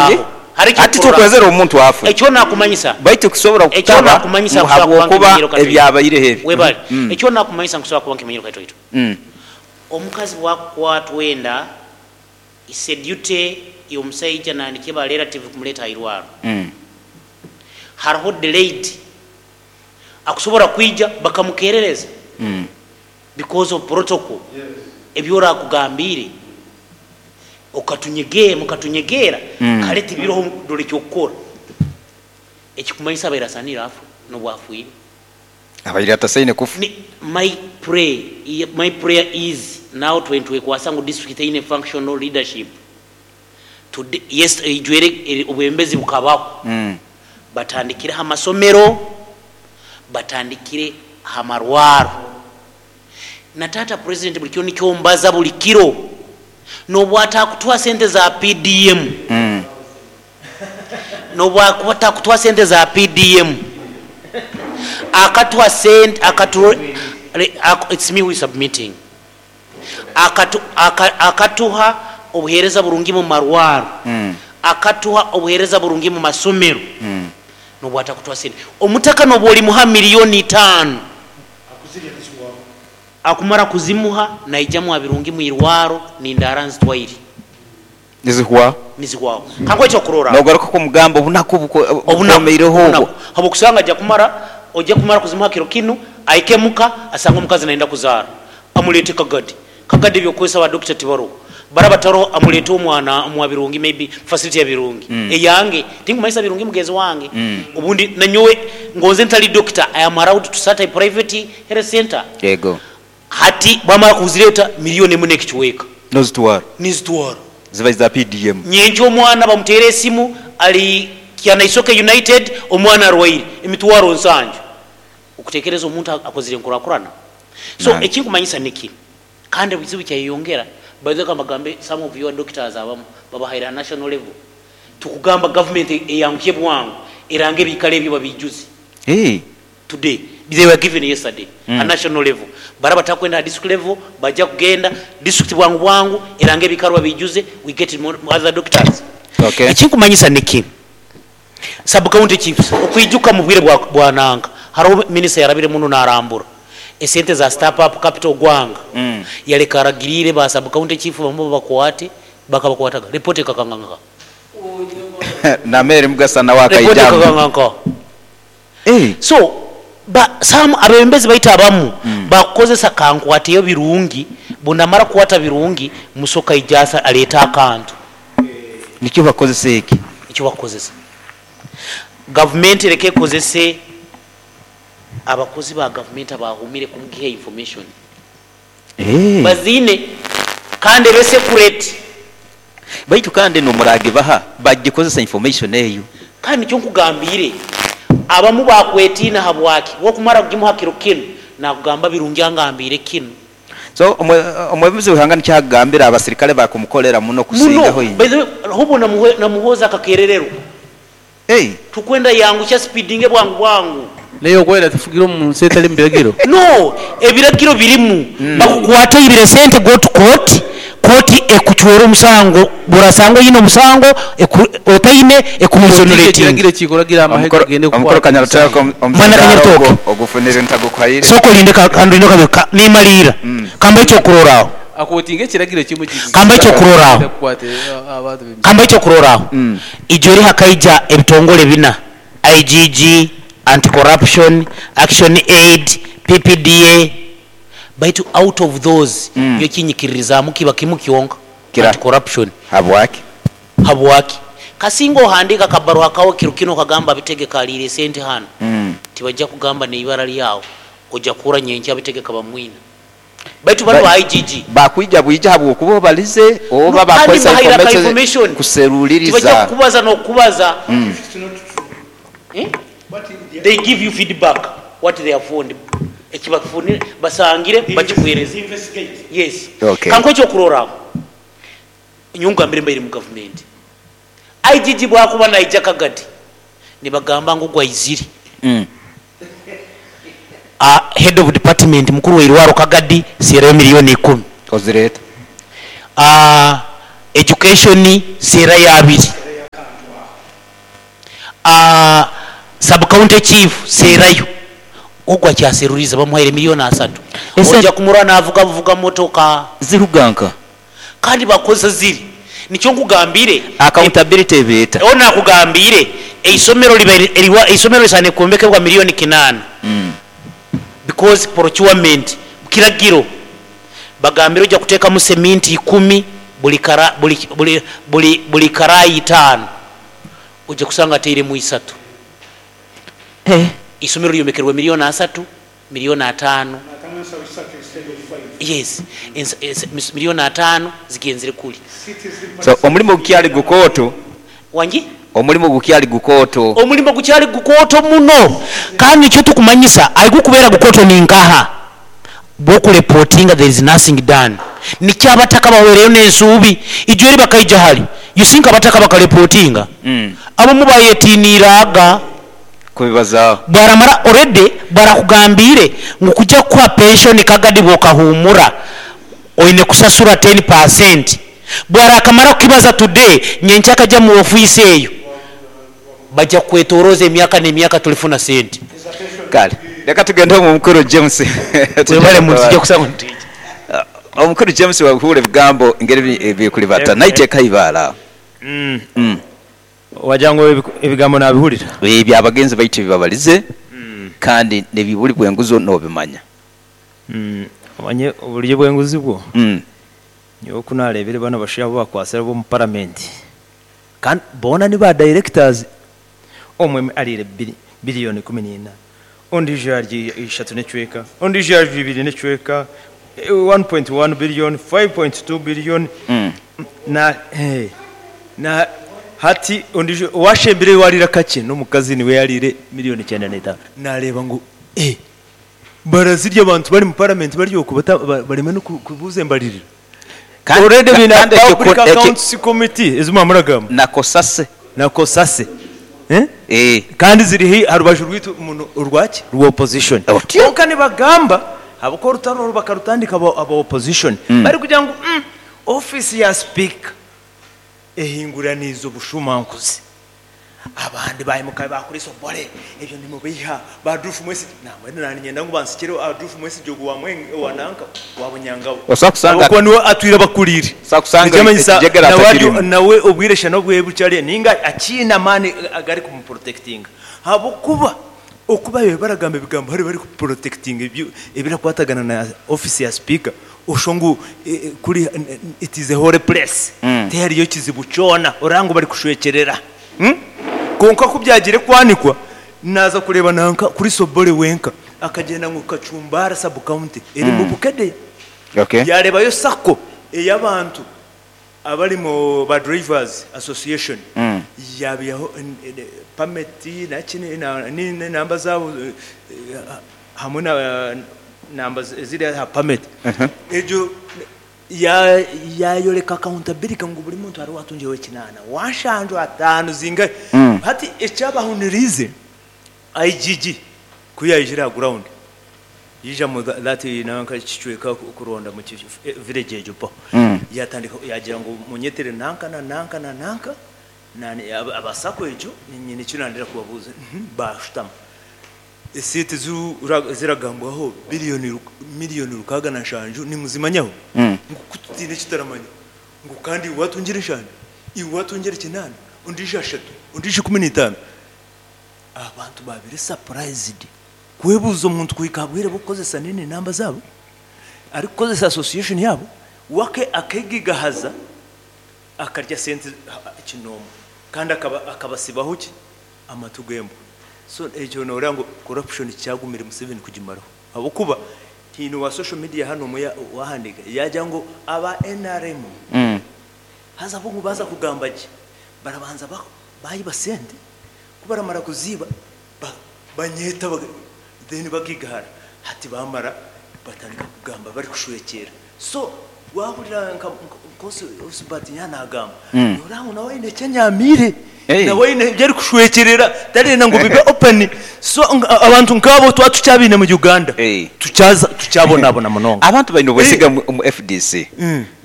Ekyokurorraho, hariho Hati ekyokurorraho. tukwezere omuntu afe. Ekyo nakumanyisa. Baitu kusobora Ekyo kutaba nakumanyisa ngu nkusobora kuba habwokuba nkimanyire katoito. ebyabaireho ebi. Webale. Mm. Ekyo nakumanyisa nkusobora kuba nkimanyire katoito. Mm. Omukazi bwakukwatwa enda, it's a duty y'omusaija nandiki ba relative kumuleeta hairwaro. Mm. Hariho delayed akusobora kwija bakamukerereza Mm. because of protocol ebi orakugambiire okatunyege mukatunyegeera Mm. kare tibiroho dora ekyokukora ekikumanyisa abaire asanire afe nobu afwire. Abaire atasaine kufa. Ni my pray my prayer is now twentwekwasa ngu district teine functional leadership today yes eijwere obwebembezi bukabaho Mm. batandikire aha masomero batandikire aha marwaro na taata president buri kiro nikyo mbaza buri kiro nobu atakutuha sente za PDM Mm. nobu akuba atakutuha sente za PDM akatuha sente akatu it's me who is submitting akatu, aka, akatuha obuhereza burungi mu marwaro Mm. akatuha obuhereza burungi mu masomero Mm. nobu atakutuha sente omutaka nobu olimuha miliyoni itaano akumara kuzimuha naijamu abirungi mwirwaro nindara nzitwaire Nizihwaho. nizihwaho kankuhe ekyokurorraho Nogaruka kumugamba obunaku obunaku bukomeireho obunaku obwo. habwokusanga aja kumara oja kumara kuzimuha kiro kinu ahike muka asange omukazi nayenda kuzaara amuleete kagadi kagadi ebyokukozesa ba dokita tibaroho baraba taroho amuleete omwana omwa birungi maybe facility ya birungi Mm. eyange tinkumanyisa birungi mugenzi wange Mm. obundi nanyowe ngonze ntari dokita I am allowed to start a private health center Yego. hati bamara kuzireta miliyoni emu n'ekicweka Nozitwara. nizitwara Ziba za PDM. nyenkya omwana bamuteera esimu ari Kyanaisoke United omwana arwaire emitwaro nsanju okutekereza omuntu akozire enkurakurana so Nange. ekinkumanyisa niki kandi ebizibu kyayeyongera by the way kambagambe some of your doctors abamu babahaire ha national level tukugamba government eyanguhye bwangu erange ebikaro ebyo babijuze Hey. today they were given yesterday mm. Mm. a national level bara batakwenda ha district level baja kugenda district bwangu bwangu erange ebikaro babijuze we get more other doctors Okay. ekinkumanyisa niki sub county chiefs okwijuka mu bwire bwa, bwa nanga hariho minisita yarabire muno narambura esente za step up capital gwanga Mm. yaleka aragirire ba sub county chief bamwe babakwate bakabakwataga report ekakanganka Na Mary Mugasa nawe report akaijamu. ekakanganka Hey. so ba some abebembezi baitu abamu mm. bakukozesa kankwateyo birungi bunamara kukwata birungi musoka ijasa aleeta akantu Nikyo bakozesa eki. ekyo bakukozesa gavumenti ereke ekozese abakozi ba gavumenti abahumire kumugiha information Hey. baziine kandi ebe secret Baitu kandi nomuragibaha bagikozesa information eyo. kandi nikyo nkugambire abamu bakwetiina habwaki wokumara kugimuha kiro kinu nakugamba birungi angambire kinu So omwebembezi w'ihanga nikyagambira abasirikale bakumukolera muno muno kusingaho by inye. the way hobo namuhoza akakerererwa Hey. tukwenda yangusha speedinge bwangu bwangu Naye okwera tufugire omu nsi etali mu biragiro. No ebiragiro birimu bakukwata oibire sente go to court kooti ekucwera omusango burasanga oine omusango otaine ekuexonerating. Ekiragiro kikuragira amahe gagende Omukoro kukwata Kanyarutaka omusango. Mwana omuzindaaro Kanyarutaka. ogwo ogufunire ntagukuhaire. Sooka olinde kandinde kabe nimaliira kamba ekyokuroraaho Akotinga ekiragiro kimwe kiki. Kamba ekyokuroraaho. Kukwata abantu b'emisango. Kamba ekyokuroraaho. Mm. Ijo eri hakaija ebitongore bina IGG, Anti-Corruption, Action Aid, PPDA baitu out of those Mm. nyowe ekinyikiririzaamu kiba kimu kyonka Kira. Anti-Corruption. Habwaki? Habwaki? Kasinga ohandiika akabaruha kawe kiro kinu okagamba Abitegeka aliire esente hanu Mm. tibajja kugamba neibara ryawe oja kuhurra nyenkya Abitegeka bamwina. Baitu banu ba IGG Bakwija bwija habwokuba obalize oba No, kandi bakozesa bahaire aka information information. Tibajja kuseruliriza. kukubaza n'okukubaza. Mm. Eh? They give you feedback what they have found. Ekibafunire basangire bakikuhereza. Yes. Okay. Kankuhe ekyokurorraho. Nyowe ngambire mbaire mu gavumenti. IGG bwakuba naija Kagadi nibagamba ngu ogu aizire. Mm. Head of department mukuru w'eirwaro Kagadi seerayo miliyoni ikumi. Ozireeta. Education seerayo abiri. County chief seerayo. Ogu akyaseruriize bamuhaire milioni asatu. Esente. Oja kumurora navuga buvuga motoka. Ziruga nka? Kandi bakozesa ziri. Nikyo nkugambire. Accountability eba eta? Obu nakugambiire eisomero ribaire eriwa eisomero risaine kwombekebwa milioni kinaana because procurement kiragiro bagambire oja kutekamu seminti ikumi buli kara buli buli buli buli karayi itaano oja kusanga atairemu isatu. Eisomero lyombekerwe milioni asatu, milioni ataano. Yes, milioni ataano zigenzire kuri. So omulimo gukyali gukooto. Wangi? Omulimo gukyali gukooto. Omulimo gukyali gukooto muno kandi nikyo tukumanyisa ahi gukubeera gukooto ni nkaha? Bwokurepotinga there is nothing done. Nikyo abataka bahwereyo n'ensuubi ijo eri bakaija hare you think abataka bakarepotinga? Abamu bayetiniire aga. Kubibazaaho. Bwaramara already barakugambiire ngu kuja kukuha pension kagadi bwokahumura oine kusasura ten percent. Bwarakamara kukibaza today nyenkya akaja mu office eyo baja kukwetoroza emyaka nemyaka torifuna sente. Kale leka tugende omu mukuru James. Webale muntu tija kusanga nitwija. Omukuru James wahuura ebigambo engeri ebikuribata naitwe ekaibaale aho. Wagira ngu ebigambo nabihurira. Ebyo abagenzi baitu ebibabalize kandi nebiburi bwenguzi nobimanya. Omanye oburyo bwenguzi bwo, nyowe ku nareebire banu abashaija abu bakwatsire ab'omu paramenti kandi boona ni ba dayirekitazi, omwe ariire biriyoni 14, ondiijo yarya ishatu n'ekicweka, ondiijo yarya ibiri n'ekicweka, 1.1 billion, 5.2 billion, na na hati ondiijo owashembireyo owariire akakye n'omukazi niwe yariire miriyoni 95. Nareeba ngu barazirya abantu bari mu paramenti bari okwo bareme n'okubuuza embaririra. Kandi Already baine kandi ekyo Public ekyo Accounts Committee ezi mwaba muragamba. Na Kosase. Na Kosase. Eh. Kandi ziri haihi aha rubaju rwaitu muno orwaki? Rwa opposition. Otyo. Kwonka nibagamba ahabw'okuba orutaro oru bakarutandika aba opposition barikugira ngu ofiisi ya sipiika ehinguraniize obushumankuzi. Abandi baimuka baakora Obore, ebyo nimubeiha, ba Adolf Mwesigye, nambwenu naaniinyenda ngu bansikire Adolf Mwesigye ogwo owa nanka, owa Bunyangabo. Osobola kusanga Ahabw'okuba niwe atwire abakuriire. Osobola kusanga Nikimanyisa ekijegere nawe ari atakirimu. nawe obwire shana obwe bukye ariyo nainga akiine amaani agarikumuprotectinga. Ahabw'okuba oku baabaire baragamba ebigambo hariyo barikuprotectinga ebirakwatagana na ofiisi ya sipiika, Oshusha ngu kuri it is a holy place, tihariyo kizibu kyona, oraba ngu barikushwekyerera. Kwonka ku byagiire kwanikwa, naaza kureeba nanka kuri Sobore wenka akagyenda ngu Kacumbara sub county erimu Bukedea, yaareebayo sacco ey'abantu abari mu ba drivers association, yaabihaho permit naki n'enamba zaabo hamwe na namba eziri aha permit egyo yayoreka accountability ngu buri muntu hariho owatungyireho ekinaana, wanshanju, ataano zingahi. Hati ekyabahuniriize IGG ku yaijire aha ground yaija mu that nanka kicweka kuronda mu village egyo mpaho yatandika yagira ngu munyetere nanka na nanka na nanka aba sacco egyo nyine eki nandenda kubabuuza bashutama. Esente ezi eziragambwaho biliyoni miliyoni 67 nimuzimanyaho? Ngu ku tutaine eki tutaramanya ngu kandi iwe watungire nshanju, iwe watungire kinaana, ondiijo ashatu, ondiijo 15. Abantu babaire surprised kwebuuza omuntu kuhika aha bwire bw'okukozesa nini namba zaabo, arikukozesa association yaabo, we akegigahaza akarya sente kinoomwe kandi akabasibaho ki? Amatu g'embwa. So ekyo noreeba ngu corruption kyagumire Museveni kugimaraho ahabw'okuba haine owa social media hanu omwe owahandiika yaagira ngu aba nrm haza bo ngu baaza kugamba gye barabanza baiba sente ku baramara kuziiba banyeeta then bagiigahara hati baamara batandika kugamba barikushwekyera. So waahurira nka Osbert yaaba naagamba, nooreeba ngu nawe aine eki anyaamiire, nawe aine ebi arikushwekyerera, tarenda ngu bibe open. So abantu nk'abo twaba tukyabaine mu Uganda, tukyabonabona munonga. Abantu baine obwesige omu fdc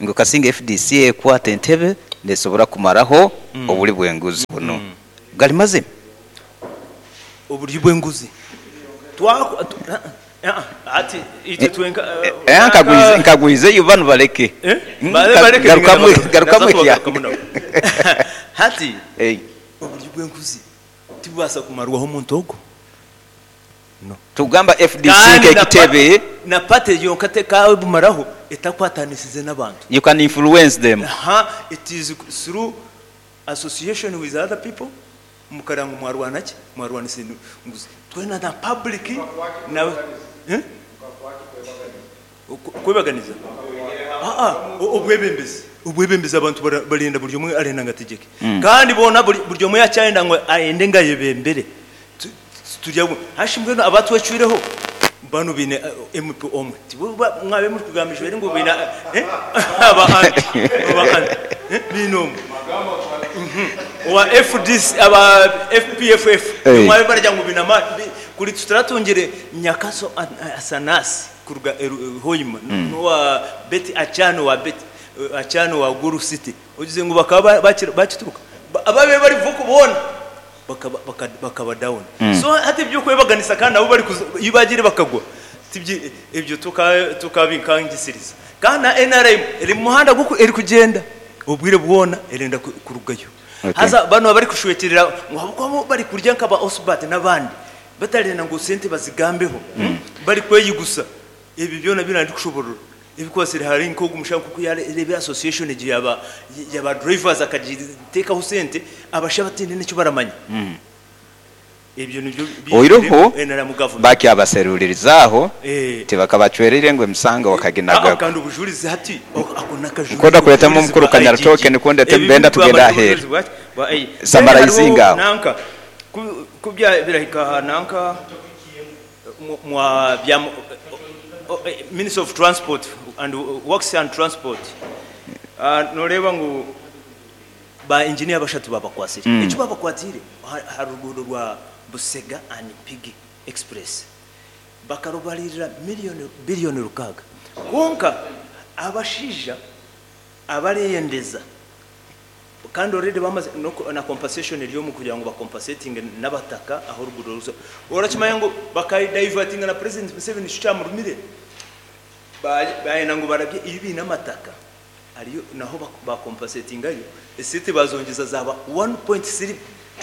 ngu kasinga fdc ekwata entebe nesobora kumaraho obuli bw'enguzi bunu. Gali mazima? Oburyo bw'enguzi. Twa hati itwe twenka Eh, nkagwize nkagwize yo banu baleke. Eh? Mm, Bale baleke garukamu ningenda garukamu naza ekya. kubagarukamu nabo. Hati Eh, oburyo bw'enguzi tibubaasa kumarwaho omuntu ogwo. Tugamba FDC Kandi na nk'ekitebe na party yonka tekabumaraho etakwatanisize n'abantu. You can influence them. Aha, it is through association with other people mukaranga mwarwana ki mwarwanisa enguzi twena na public na Eh? Kwebaganiza. Ah, ah, obwebembezi obwebembezi abantu barenda buri omwe arenda ngo ategeke kandi bona buri buri omwe yacyarenda ngo aende ngo ayebembere. Turya hashi mbwenu abatwecwireho bano bine MP omwe. Tibo mwabe muri kugambishwa ngo bine aba aba bine omwe wa FDC aba FPFF. Mwabe barya ngo bine ama kuri tutaratungire Nyakaso Asanasi kuruga Hoima n'uwa Betty Achano wa Betty Achano wa Guru City ugize ngo bakaba bakituruka ababe bari vuko bona bakaba bakaba down. So hati ibyo kwebaganisa kandi abo bari iyo bagire bakagwa tibyi ibyo tukabinkangisiriza kandi na NRM iri mu muhanda guko iri kugenda ubwire bwona irenda kurugayo. Haza bano bari kushwekerera ngo habwo bari kurya nkaba Osbat n'abandi batarenda ngo sente bazigambeho bari kweyigusa ibi byona birandi kushoborora ibikwasire hari nko gumushaka kuko yarebe association igihe yaba yaba drivers akagitekaho sente abasha batinde nicyo baramanya ibyo nibyo Oiroho NRM government bakyabaserulirizaho tibakabacwerire ngo emusango wakaginagako. Kandi ubujurizi hati ako nakajurizi Nkoda kuletamo omukuru Kanyara token kundete mbenda tugenda ahera. Summarizinga aho. Nanka kubya birahika nanka mwa bya Minister of Transport and Works and Transport. Noreba ngu ba engineer bashatu babakwasire. Icyo babakwatire harugudo rwa Busega and Pigi Express bakarubalirira miliyoni biliyoni 6. Konka abashija abareyendeza kandi already bamaze no na compensation iri mu kugira ngo bacompensating n'abataka aho rugudo ruza urakimanya ngo bakayidivertinga na President Museveni cyamurumire bayena ngo barabye ibi n'amataka ariyo naho bacompensatingayo esete bazongeza zaba 1.3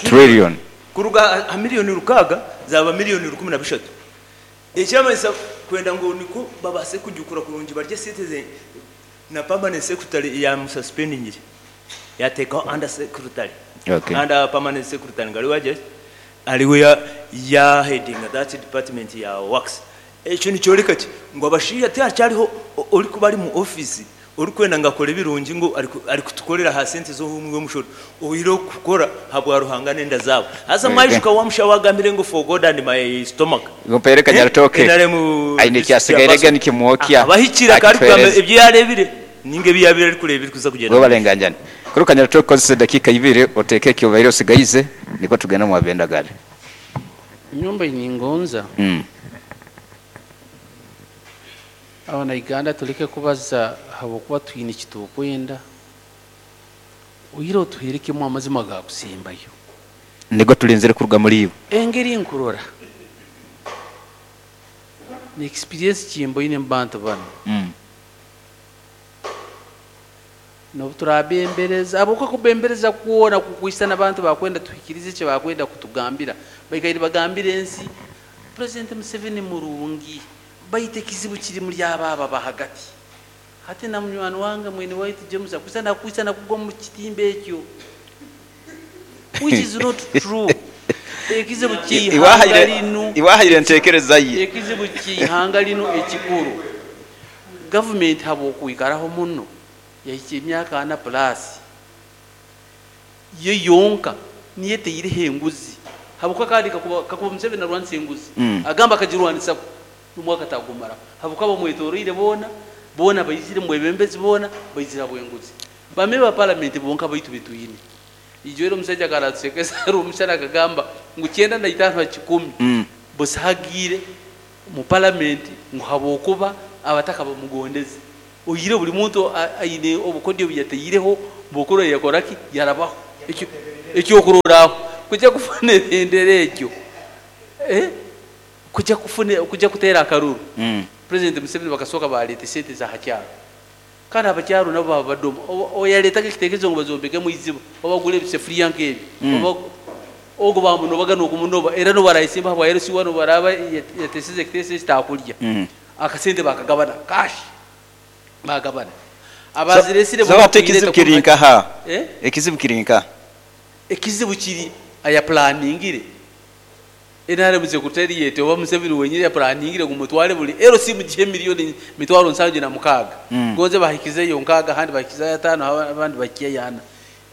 trillion kuruga ha miliyoni 6 zaba miliyoni 13. Ekyamanyisa kwenda ngo niko babase kujukura kurungi barye citizen na permanent secretary ya mususpending yatekaho under secretary. Under permanent secretary ngari waje ariwe ya ya heading that department ya works. Ekyo nicyoreka ki ngo abashiya tiacyariho uri kuba ari mu office uri kwenda ngakora ebirungi ngo ari kutukorera ha sente zo humwe mushoro oyiro kukora habwa ruhanga nenda zabo haza mwajuka wamusha wagambire ngo for God and my stomach. Ngo Kanyara token NRM aine kyasigaire nikimwokya abahikira kari kugamba ibyo yarebire ninge biyabire ari kureba iri kuza kugenda ngo barenganjane kuri Kanyara token kozese dakika ibiri oteke kyo osigayize niko tugenda mu bendagare. Nyumba iningonza abana Uganda tuleke kubaza habwokuba twine ekitukwenda oyire otuherekemu amazima gakusembayo nigo tulinzire kuruga muri ibo engeri nkurora ni experience kimboine mu bantu bano nobu turabembereza abuka kubembereza kuona kukwisa n'abantu bakwenda tuhikirize eki bakwenda kutugambira baikaire bagambire ensi President Museveni murungi baite kizibu kiri muri ababa bahagati hati na munywani wange mwene waitu James akwisa nakwisa nakugwa mu kitimba ekyo which is not true. Ekizibu ky'ihanga lino iwahayire ntekereza ye ekizibu ky'ihanga lino ekikuru government habwokwikaraho muno yahikya emyaka 4 plus ye yonka niyo eteireho enguzi habwokuba kandi kakuba Museveni arwanisa enguzi agamba akagirwanisa n'omwaka tagumaraho habwokuba bamwetoroire boona boona baizire mwebembezi boona baizire habw'enguzi bame ba parliament bonka baitu betwine ijo omusajja akaratusekesa omushana akagamba ngu 95 ha 10 busahagire mu parliament ngu habwokuba abataka bamugondeze oyire buli muntu aine obukodyo buyateireho bukuru yakoraki yarabaho ekyo ekyokuroraho kujja kufuna ebendera ekyo Eh, kujya kufuna kujya kuteera akaruru, President Museveni bakasooka baaleeta esente za ha kyaro. Kandi abakyaro nabo baaba badoma. Oyareetaga ekitekerezo ngu bazombekemu eiziba oba bagure ebisefuriya nk'ebyo, oba ogwo baamunobaga n'okumunoba era n'obu araayesimba ahabwa LC1 obu araaba yateesize ekiteeso eki taakurya. Akasente baakagabana cash, baagabana. Abaazireesire So bo hati ekizibu bakuireeta kiri kuruga nkaha? Eh? Ekizibu kiri nkaha? Ekizibu kiri ayapulaaningire. Nrm secretariat oba Museveni wenyini yaplaningire ngu mutware buri LC mugihe million mitwaro nsanju na mukaaga gonze bahikizeyo nkaaga ahandi bahikizayo ataano abandi bahikyeyo ana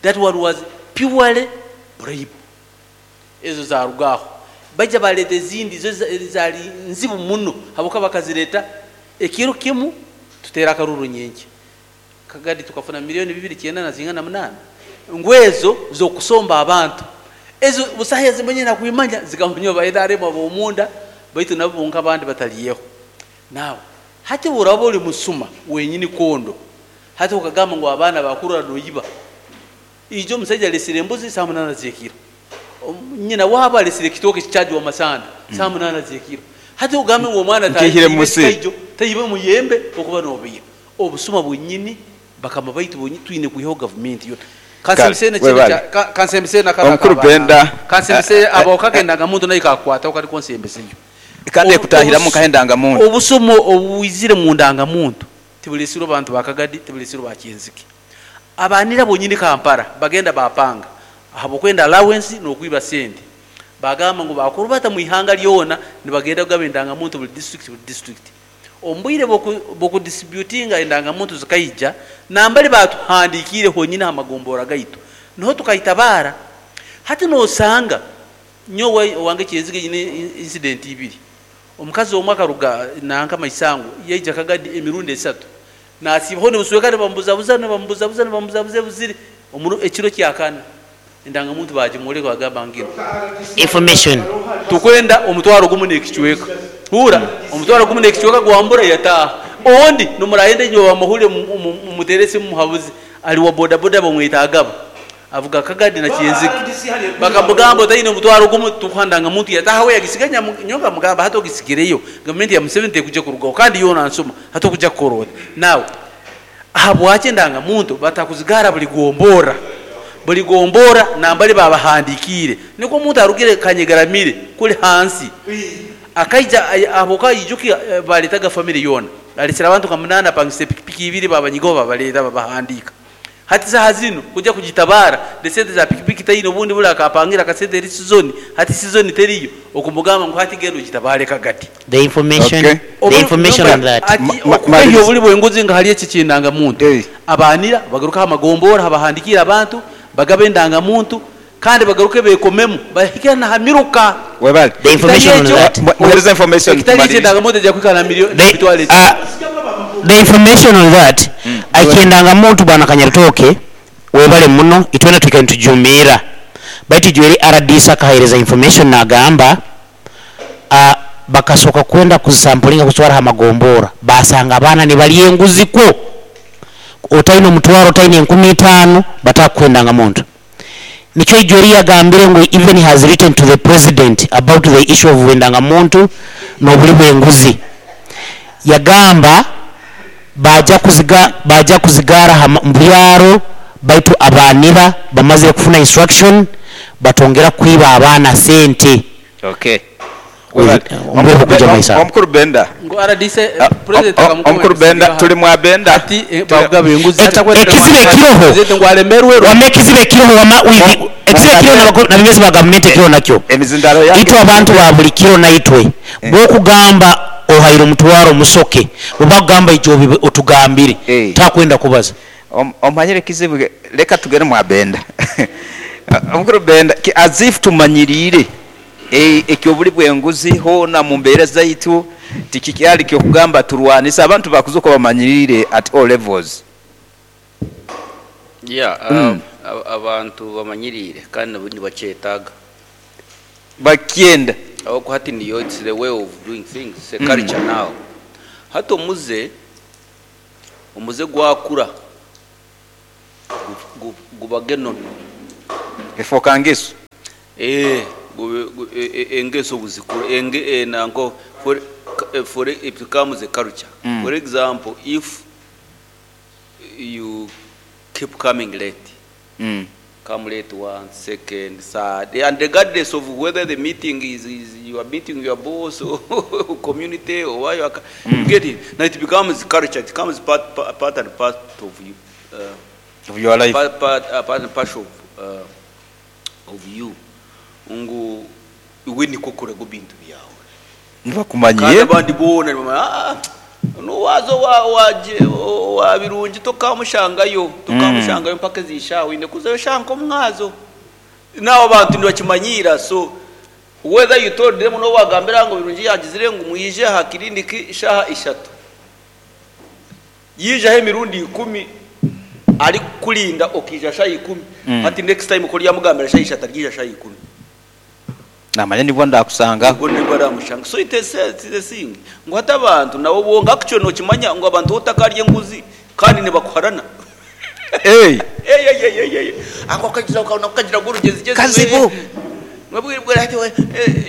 that one was purely bribe ezo zaruga aho baija bareta ezindi zo zari nzibu muno habwokuba bakazireta ekiro kimu tutera akaruru nyenkya Kagadi tukafuna milioni bibiri kyenda na zingana munaana ngu ezo z'okusomba abantu. Ezo busaho ezimwe nakwimanya zikamanywa ba nrm ab'omunda baitu nabo bonka abandi batariyeho. Now hati obu oraba ori musuma wenyini kondo hati okagamba ngu abaana bakurora noyiba, ijo omusaija aresire embuzi saaha munaana z'ekiro, nyina waabo aresire ekitooke kikyajwa amasanda saaha munaana z'ekiro, hati ogambe ngu omwana Nkaihire tayibe musiri. ekikaijo, tayibe omuyembe okuba nobiiha. Obusuma bwenyini bakama baitu bonyini twine kwihaho gavumenti yona. Kale, Kansembise nekindi webale. kya ka kansembise na kanu Omukuru aka ba Benda, kansembise abo kake endangamuntu nayo kakukwataho kari konsembeseyo. Kandi Obu ekutahiramu obus nkaha endangamuntu. obusuma obwizire mu ndangamuntu tiburesirwe bantu ba Kagadi tiburesirwe ba Kyenzike. Abanira bonyini Kampala bagenda bapanga ahabw'okwenda allowance n'okwiba sente. Bagamba ngu bakurubata mu ihanga ryona nibagenda kugaba endangamuntu buri district buri district. Omu bwire bw'oku distributinga endangamuntu zikaija, nambari baatuhandiikiire honyini aha magombora gaitu, niho tukaitabaara. Hati noosanga nyowe owange Kyenzige nyine incident ibiri. Omukazi omwe akaruga nanka Maisango yaija Kagadi emirundi esatu naasiibaho nibusweka nibamubuzabuza nibamubuzabuza nibamubuzabuza ebuzire omuri ekiro kya kana endangamuntu baagimworeka bagamba nginu. Information. Tukwenda omutwaro gumu n'ekicweka. Huura, omutwaro gumu n'ekicweka gwambura yataaha. Ondi nimurayenda inywe bamahurire mumuteere esimu mumuhabuze. Ari wa bodaboda bamweta Agaba. Avuga Kagadi na Kyenzige. Bakamugamba otaine omutwaro gumu tukuha ndangamuntu yataaha we yagisiga nyowe nkamugamba hati ogisigireyo gavumenti ya Museveni tekuja kurugaho kandi yoona nsuma hati okuja kukora ota? Now ahabwaki endangamuntu batakuzigaara buri gomborra? Buri gomborra nambari babahandikiire nikwo omuntu arugire Kanyegaramire kuri hansi akaija ahabwokuba aijuki baretaga family yoona aresire abantu nka munaana apangisa epikipiki ibiri babanyigaho babareta babahandiika. Hati saaha zinu kuja kugitabaara nesente za pikipiki taine obundi buri akapangira akasente eri sizoni hati sizoni teriyo okumugamba ngu hati genda ogitabaare kagati. The information, Okay. the information on that. Ati okukehya Maliriza. oburi bw'enguzi nka hari eki ky'endangamuntu. Eh. Abanira bagaruke aha magombora habahandikiire abantu bagabe endangamuntu kandi bagaruke bekomemu bahike na ha miruka. Webale. The information on Ekitari that. ekyo Muhereze information ekitari ekyo tumalirize. endangamuntu eja kwikara na The, mitwaro eki. the information on that eky'endangamuntu bwana Kanyarutooke webale muno itwena twikaire nitujumiira baitu ijo eri RDC akahereza information nagamba bakasoka kwenda kuzisampulinga kuzitwara aha magombora basanga abaana nibarya enguzi kwo otaine omutwaro otaine 5000 batakuha endangamuntu. Nikyo ijo eri yagambire ngu even he has written to the president about the issue of endangamuntu n'oburi bw'enguzi. Yagamba baja kuziga baja kuzigara aha mu byaro baitu abanira bamazire kufuna instruction batongera kwiba abaana sente. Okay. Omu kuja maiso. Omukuru Benda. Ngu RDC president akamukoma Omukuru Benda turi mwa Benda. Ati bagaba enguzi. Ekizibu ekiroho. President ngu alemerwe. Wama ekizibu ekiroho wama withi ekizibu ekiroho nabebezi ba gavumenti ekiroho nakyo. Emizindaro yange. Itwe abantu ba buli kiro naitwe bwokugamba ohaire omutwaro omusoke bwebakugamba ijo otugambire takwenda kubaza. Omanyire ekizibu leka tugere mwa Benda. Omukuru Benda as if tumanyirire ekyobuli bwenguzi hoona mu mbeera zaitu tikikyali kyokugamba turwanisa abantu bakuzuka bamanyirire at all levels. Yeah, abantu bamanyirire kandi nabo nibakyetaaga. Bakyenda. Ahabw'okuba hati niyo it's the way of doing things, it's a culture now. Hati omuze, omuze gwakura gubaga enono. Efooka ngeso. Engeso obuzikura enge nanko for for it becomes a culture. For example, if you keep coming late, come late once, second, third, and regardless of whether the meeting is, is you are meeting your boss or community or why you are, you get it. Now it becomes culture, it becomes part, part, part and part of you. Of your life. Part, part, part and parcel of, of you. Ngu iwe niko kurego bintu byawe. Kandi Nibakumanyiye. Abandi boona nibamanya, "Ah, nuwaza wa wa wa Birungi tokamushangayo tokamushangayo mpaka ezishawe ine kuzayo shanka omwazo." Nabo abantu nibakimanyira, so whether you told them no wagambira ngo Birungi yagizire ngu mwije aha kiriniki shaha 3, yijaho emirundi 10 ari kukurinda okija shaha 10, hati next time kuri yamugambira shaha 3 aryija shaha 10. Namanya nibwo ndakusanga. Ubwo nibwo aramushanga. So it is the thing ngo hata abantu nabo bonga actually nokimanya ngo abantu otakarye enguzi kandi nibakuharana. Hey. Ey, ey, ey, ey, ey. Ako kagira ukabona kagira ngo urugezi geze. Kazibu. Mwabwira ati we,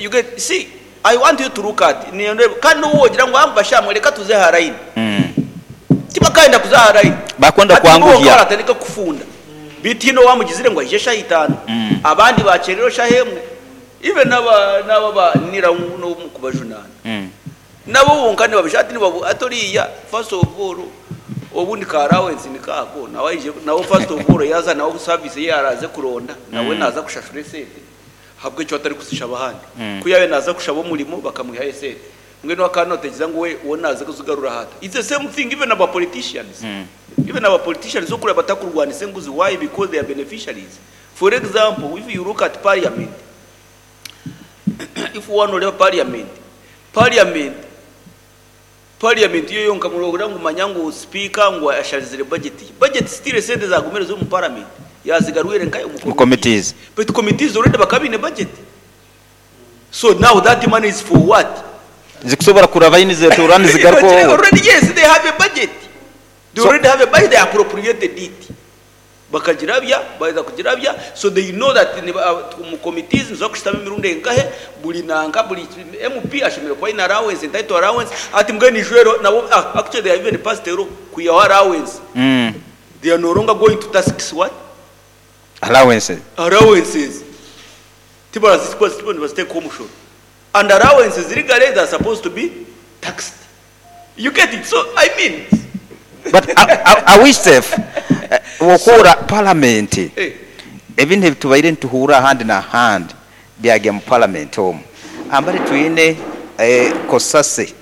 you get see, I want you to look at ni kandi wogira ngo amba shamwe reka tuze haraini. Tibakaenda kuza haraini. Bakwenda Ati bo kwanguhya. baratandika kufunda. Bitino wamugizire ngo aje shahitano. Abandi bacerero shahemwe. Even naba naba ba nira no kubajunana. Nabo bonka nibabishati nibabu atoriya first of all obundi karawensi nikako nawe aije nawe first of all yaza nawe service ye araze kuronda nawe naza kushashura esente habwe cyo atari kusisha abahandi kuyabe naza kushaba umurimo bakamuha esente mbwe no akanotegeza ngo we uwo naza kuzugarura hata. It's the same thing even about politicians, even our politicians okura batakurwanisa enguzi. Why? Because they are beneficiaries. For example, if you look at parliament, if one oreba parliament, parliament yo yonka murohora ngo manya ngo speaker ngo asharizire budget, budget still sente zagumire zo mu parliament yazigarwire nkayo mu Mu committees. But committees already bakabine budget, so now that money is for what? Zikusobora kurava yini zetura nizigaruka wowe. Already, yes, they have a budget. They So- already have a budget, they appropriated it. Bakagirabya, baza kugirabya, so they know that mu committees nizo kushitama emirundi enkahe buli nanka buli MP ashemere kuba ina allowance, entitled allowance ati mbwe ni jwero nabo. Actually they have even passed a law kuyaho allowance. They are no longer going to tax what? Allowances. Allowances tibarazitwa nibaziteeka omushoro, and allowances legally they are supposed to be taxed. You get it? So I mean, But are we safe? Wokora parliament. Ebintu ebitubaire nituhura ahandi n'ahandi byagya mu parliament omu. Ambari twine kosase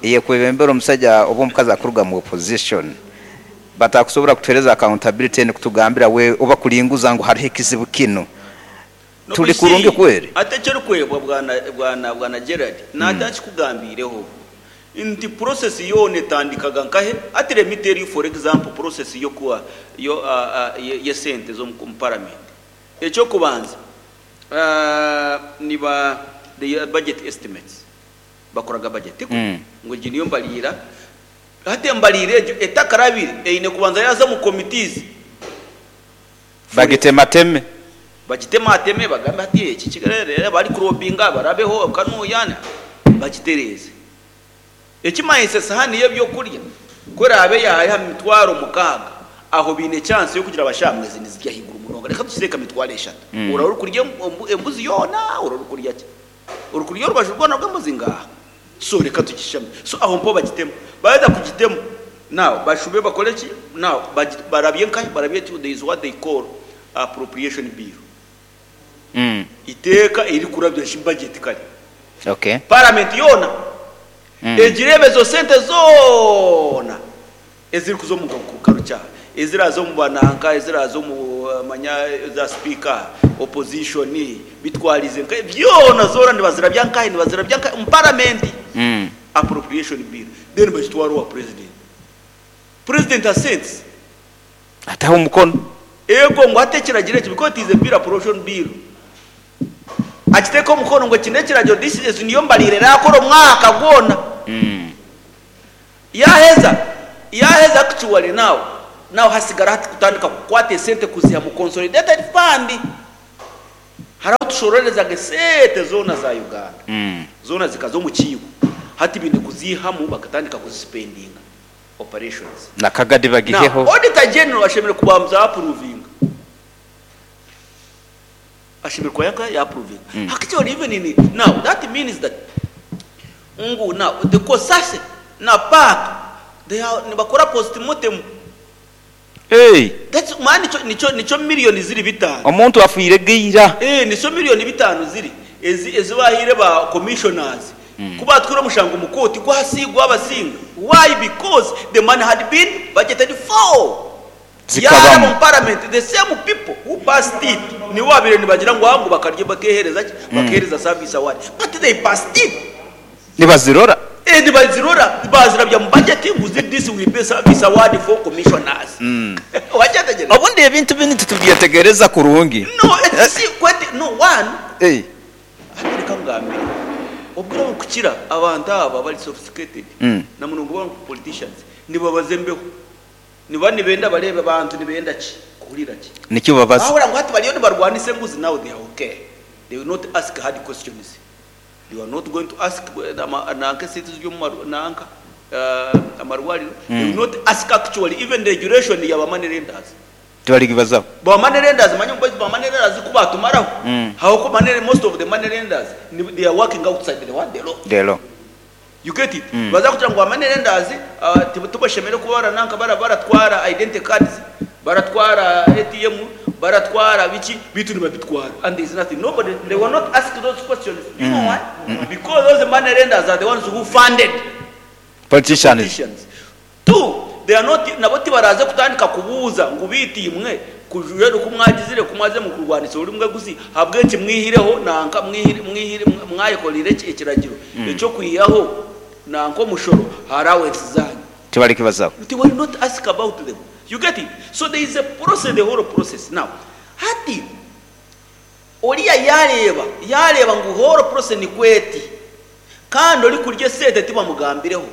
eyekwebembera omusajja oba omukazi akuruga mu opposition batakusobora kutuhereza accountability nikutugambira we oba kulinguza ngu hariho ekizibu kino. No, Tuli you see, kurungi kweri. Ate ekyorikwebwa bwana bwana bwana Gerard natakikugambiireho nti process yoona etandikaga nkahe. Ati let me tell you, for example, process yokuwa yo yesente zo mu parliament, ekyokubanza niba the budget estimates bakoraga budget ngo egi niyo mbaliira. Hati embaliira egyo etakarabire eine kubanza yaza mu committees. Bagitemateme. Bagitemateme bagambe ati eki kigarere bari kurobinga barabeho kanuyana bagitereze ekimayise sahani y'ebyokurya kurabe yaha 6,000 aho bine chance yo kugira abashamwezi nizijya higuru munonga reka tusireka 30,000. Urari kurya embuzi yona, urari kurya ki, uri kurya urubaju rwona rw'embuzi ngaha, so reka tukishame. So aho mpo bagitema baza kugitema now bashube bakore ki now barabye nkahe barabye ki. There is what they call appropriation bill. Iteka iri kurabya budget kare. Parliament yona egirebezo sente zona eziri kuzo mu karuca ezirazo mu bananka ezirazo mu manya za speaker opposition bitwarize nka byona zora nibazira byankahe nibazira byankahe mu parliament. Appropriation bill then bagitwara wa president, president assents. Ataho umukono. Ego ngo atekeragira eki because it is a bill, appropriation bill akiteka omukono ngo kino ekiragiro this is niyo mbalire rakora omwaka gwona. Yaheza yaheza actually now hasigara hati kutandika kukwata esente kuziha mu consolidated fund haraho. Tushororezaga esente zoona za Uganda zoona zikaza omu kiibo hati baine kuziihamu bakatandika kuzisipendinga operations. Na kagadi Now bagiheho. Auditor General ashemereire kubanza apuruvinga ashemereire kuba yaka yapuruvinga actually even in now that means that ngu now the COSASE na PAC they are nibakora postmortem. Hey! That's mani nikyo nikyo nikyo million ziri bitano. Omuntu afiire ge ira. Eeh nikyo million bitano ziri ezi ezi bahaire ba commissioners ku batwire omushango omu kooti gwasi gwabasinga why because the money had been budgeted for yaraba Zikabamu. omu parliament the same people who passed it nibo babaire nibagira ngu ngu bakarya bakehereza ki bakehereza service award but they passed it. Nibazirora. Eeh nibazirora bazirabya mu budget ngu zi this will be service award for commissioners wakyetegereza? Obundi ebintu binu titubyetegereza kurungi. No eki si kwete no one Eh. Hati reka nkugambire obwire oburikukira abantu aba abari sophisticated na munonga ba politicians nibabaza embeho niba nibenda bareebe abantu nibenda ki kuhurira ki Nikyo babaza. Bahurira ngu hati bariyo nibarwanisa enguzi now they are okay they will not ask hard questions. You are not going to ask nanka esente eziri omu nanka amarwariro, they will not ask actually even regulation ya ba money lenders. Tibarigibazaho. Ba money lenders manya ngu ba money lenders ku batumaraho, ahabw'okuba money most of the money lenders they are working outside the what the law. The law. You get it? Nibaza kugira ngu ba money lenders tibashemereire kuba barananka baratwara identity cards, Baratwara ATM, baratwara biki, beitu nibabitwara and there is nothing, nobody, they were not asked those questions, do you know why? Because those money lenders are the ones who funded Politicians. politicians. Two, they are not, nabo tibaraze kutandika kubuuza ngu beitu imwe kujwera oku mwagizire ku mwaze mukurwanisa orurimi rw'egusi, ahabw'enki mwihireho nanka mwihire mwihire mwayekoreire ekiragiro eky'okwihaho nanka omushoro aha allowance zanyu? Tibarikibazaho. They will not ask about them. You get it? So there is a process, the whole process. Now, hati oriya yareeba, yareeba ngu whole process nikwo eti, kandi orikurya esente tibamugambireho,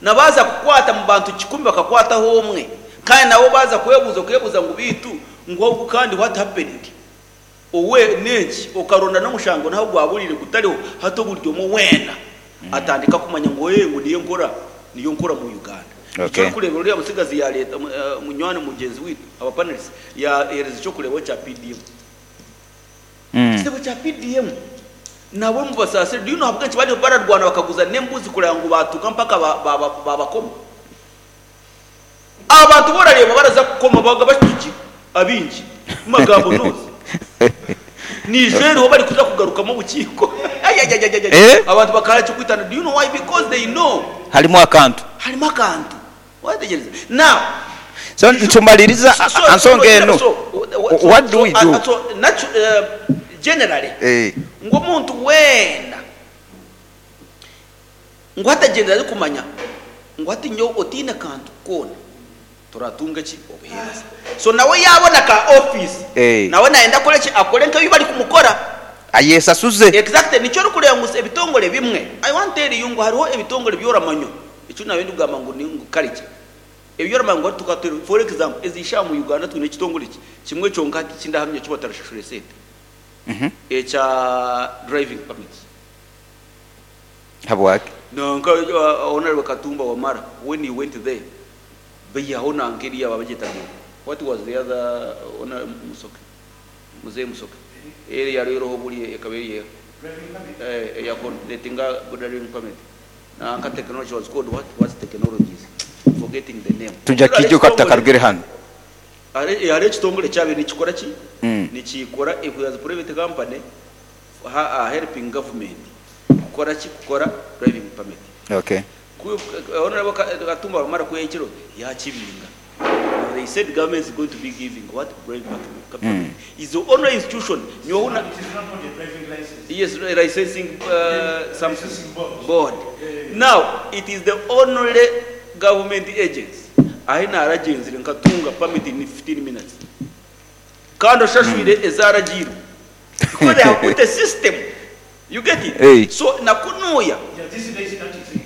na baaza kukwata mu bantu kikumi bakakwataho omwe, kandi nabo baaza kwebuuza okeebuuza ngu beitu ngu ogu kandi what happened? Owe n'enki? Okaronda n'omushango n'ahu gwaburiire gutariho, hati buri omwe weena atandika kumanya ngu ee ngu niyo nkora, niyo nkora mu Uganda. Okay. Eki orikureeba oriya mutsigazi yaareeta munywani mugyenzi waitu, aba panelists, yaaheereza eky'okureeberaho kya PDM. Ekitebe kya PDM nabo mubasaasire, do you know ahabw'enki bariyo bararwana bakaguza n'embuzi kureba ngu baatuuka mpaka baabakoma? Abantu bu orareeba baraza kukoma babaga bashutugire abaingi omu magambo noozi. Naija eriho barikuza kugarukamu obukiiko. Ayayayayaya. Eh? Abantu bakahara eky'okwitana. Do you know why? Because they know Harimu akantu. harimu akantu. Wayetegereza? Now, So nitumaliriza so, so, aha nsonga enu. so, so, What do we so, do? so, generally, Eh. ngu omuntu weena Ngu hati agyendera arikumanya ngu hati nyowe otaine kantu koona toratunga ki? Obuheereza. So nawe yaabona ka ofiisi nawe naayenda akore ki? Akore nk'ebi barikumukora. Ayesasuze. Exactly nikyo orikureeba ngu ebitongore ebimwe, I want tell you ngu hariho ebitongore ebi oramanywa, eki naabaire ndikugamba ngu ni ngu culture, ebi oramanya ngu hati tukaba for example ezi shaaha omu Uganda twine ekitongore ki kimwe kyonka hati eki ndahamya eki batarashashura esente, ekya driving permits. Habwaki? Nanka Honourable Katumba Wamala when he went there baihaho nanka eriya babagyeta ngu what was the other Honourable Musoke Muzei Musoke eriya yariyo eriho buriya ekaba eri eha eh eya coordinatinga driving permit nanka technology was called what what's technologies forgetting the name. Tujya kijuka tutakarugire hanu. Hariho ekitongore ekyabaire nikikora ki nikikora it was private company helping government kukora ki kukora driving permit Okay. Ku honorable Katumba Wamala ku yahikire yakibinga they said government is going to be giving what driving permit is the only institution nyowe na yes licensing something board now it is the only government agency ahi naragyenzire nkatunga permit in 15 minutes Kandi oshashwire ezaragiirwe because they have put a system you get it Hey. so na kunuya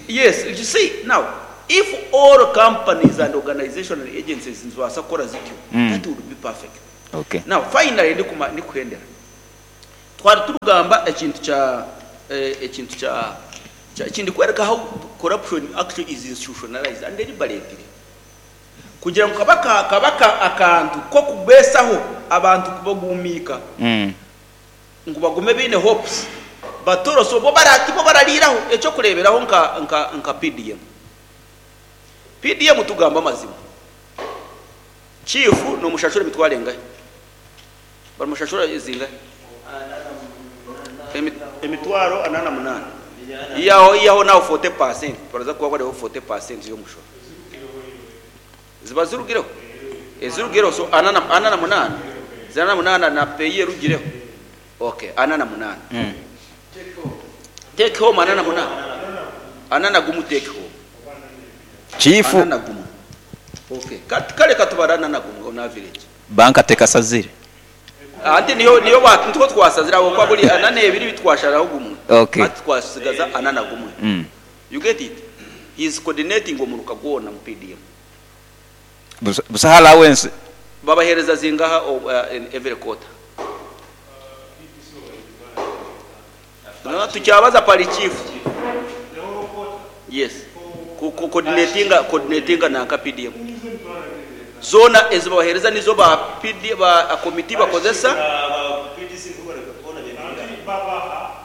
yes you see now if all companies and organizational agencies nizibaasa kukora zityo that would be perfect Okay. now finally ndikuma ndikuhendera Twari turikugamba ekintu kya ekintu kya kya ndikworeka how corruption actually is institutionalized and deliberately kugira ngu kaba kaba akantu k'okubeesaho abantu kubagumiika ngu bagume baine hopes batoroso bo bara tibo barariiraho. Eky'okureeberaho nka nka nka PDM. PDM tugambe amazima Chief nomushashura emitwaro engahi? Barimushashura zingahi? Emitwaro ana na munana. Ihaho ihaho naho 40% baraza kuba bariho 40% y'omushoro. Ziba zirugireho? Ezirugireho so ana na ana na munana? Ziri ana na munana na pay erugireho? Okay, ana na munana. Take home ana na munana? Ana na gumu take home. Chief. Ana na gumu. Okay. Kare katubara ana na gumu on average. Banka tekasazire. Anti niyo niyo ba nitwo twasazire aho kwa buri ana nebiri bitwasharaho gumwe. Okay. Ati twasigaza ana na gumwe. You get it? He is coordinating omuruka gwona mu PDM. Busaho allowance. Babahereza zingaha in every quarter? No, tukyabaza pari chief. Yes. Ku ku coordinatinga coordinatinga nanka PDM. Zona ezibabahereza nizo ba PD ba committee bakozesa.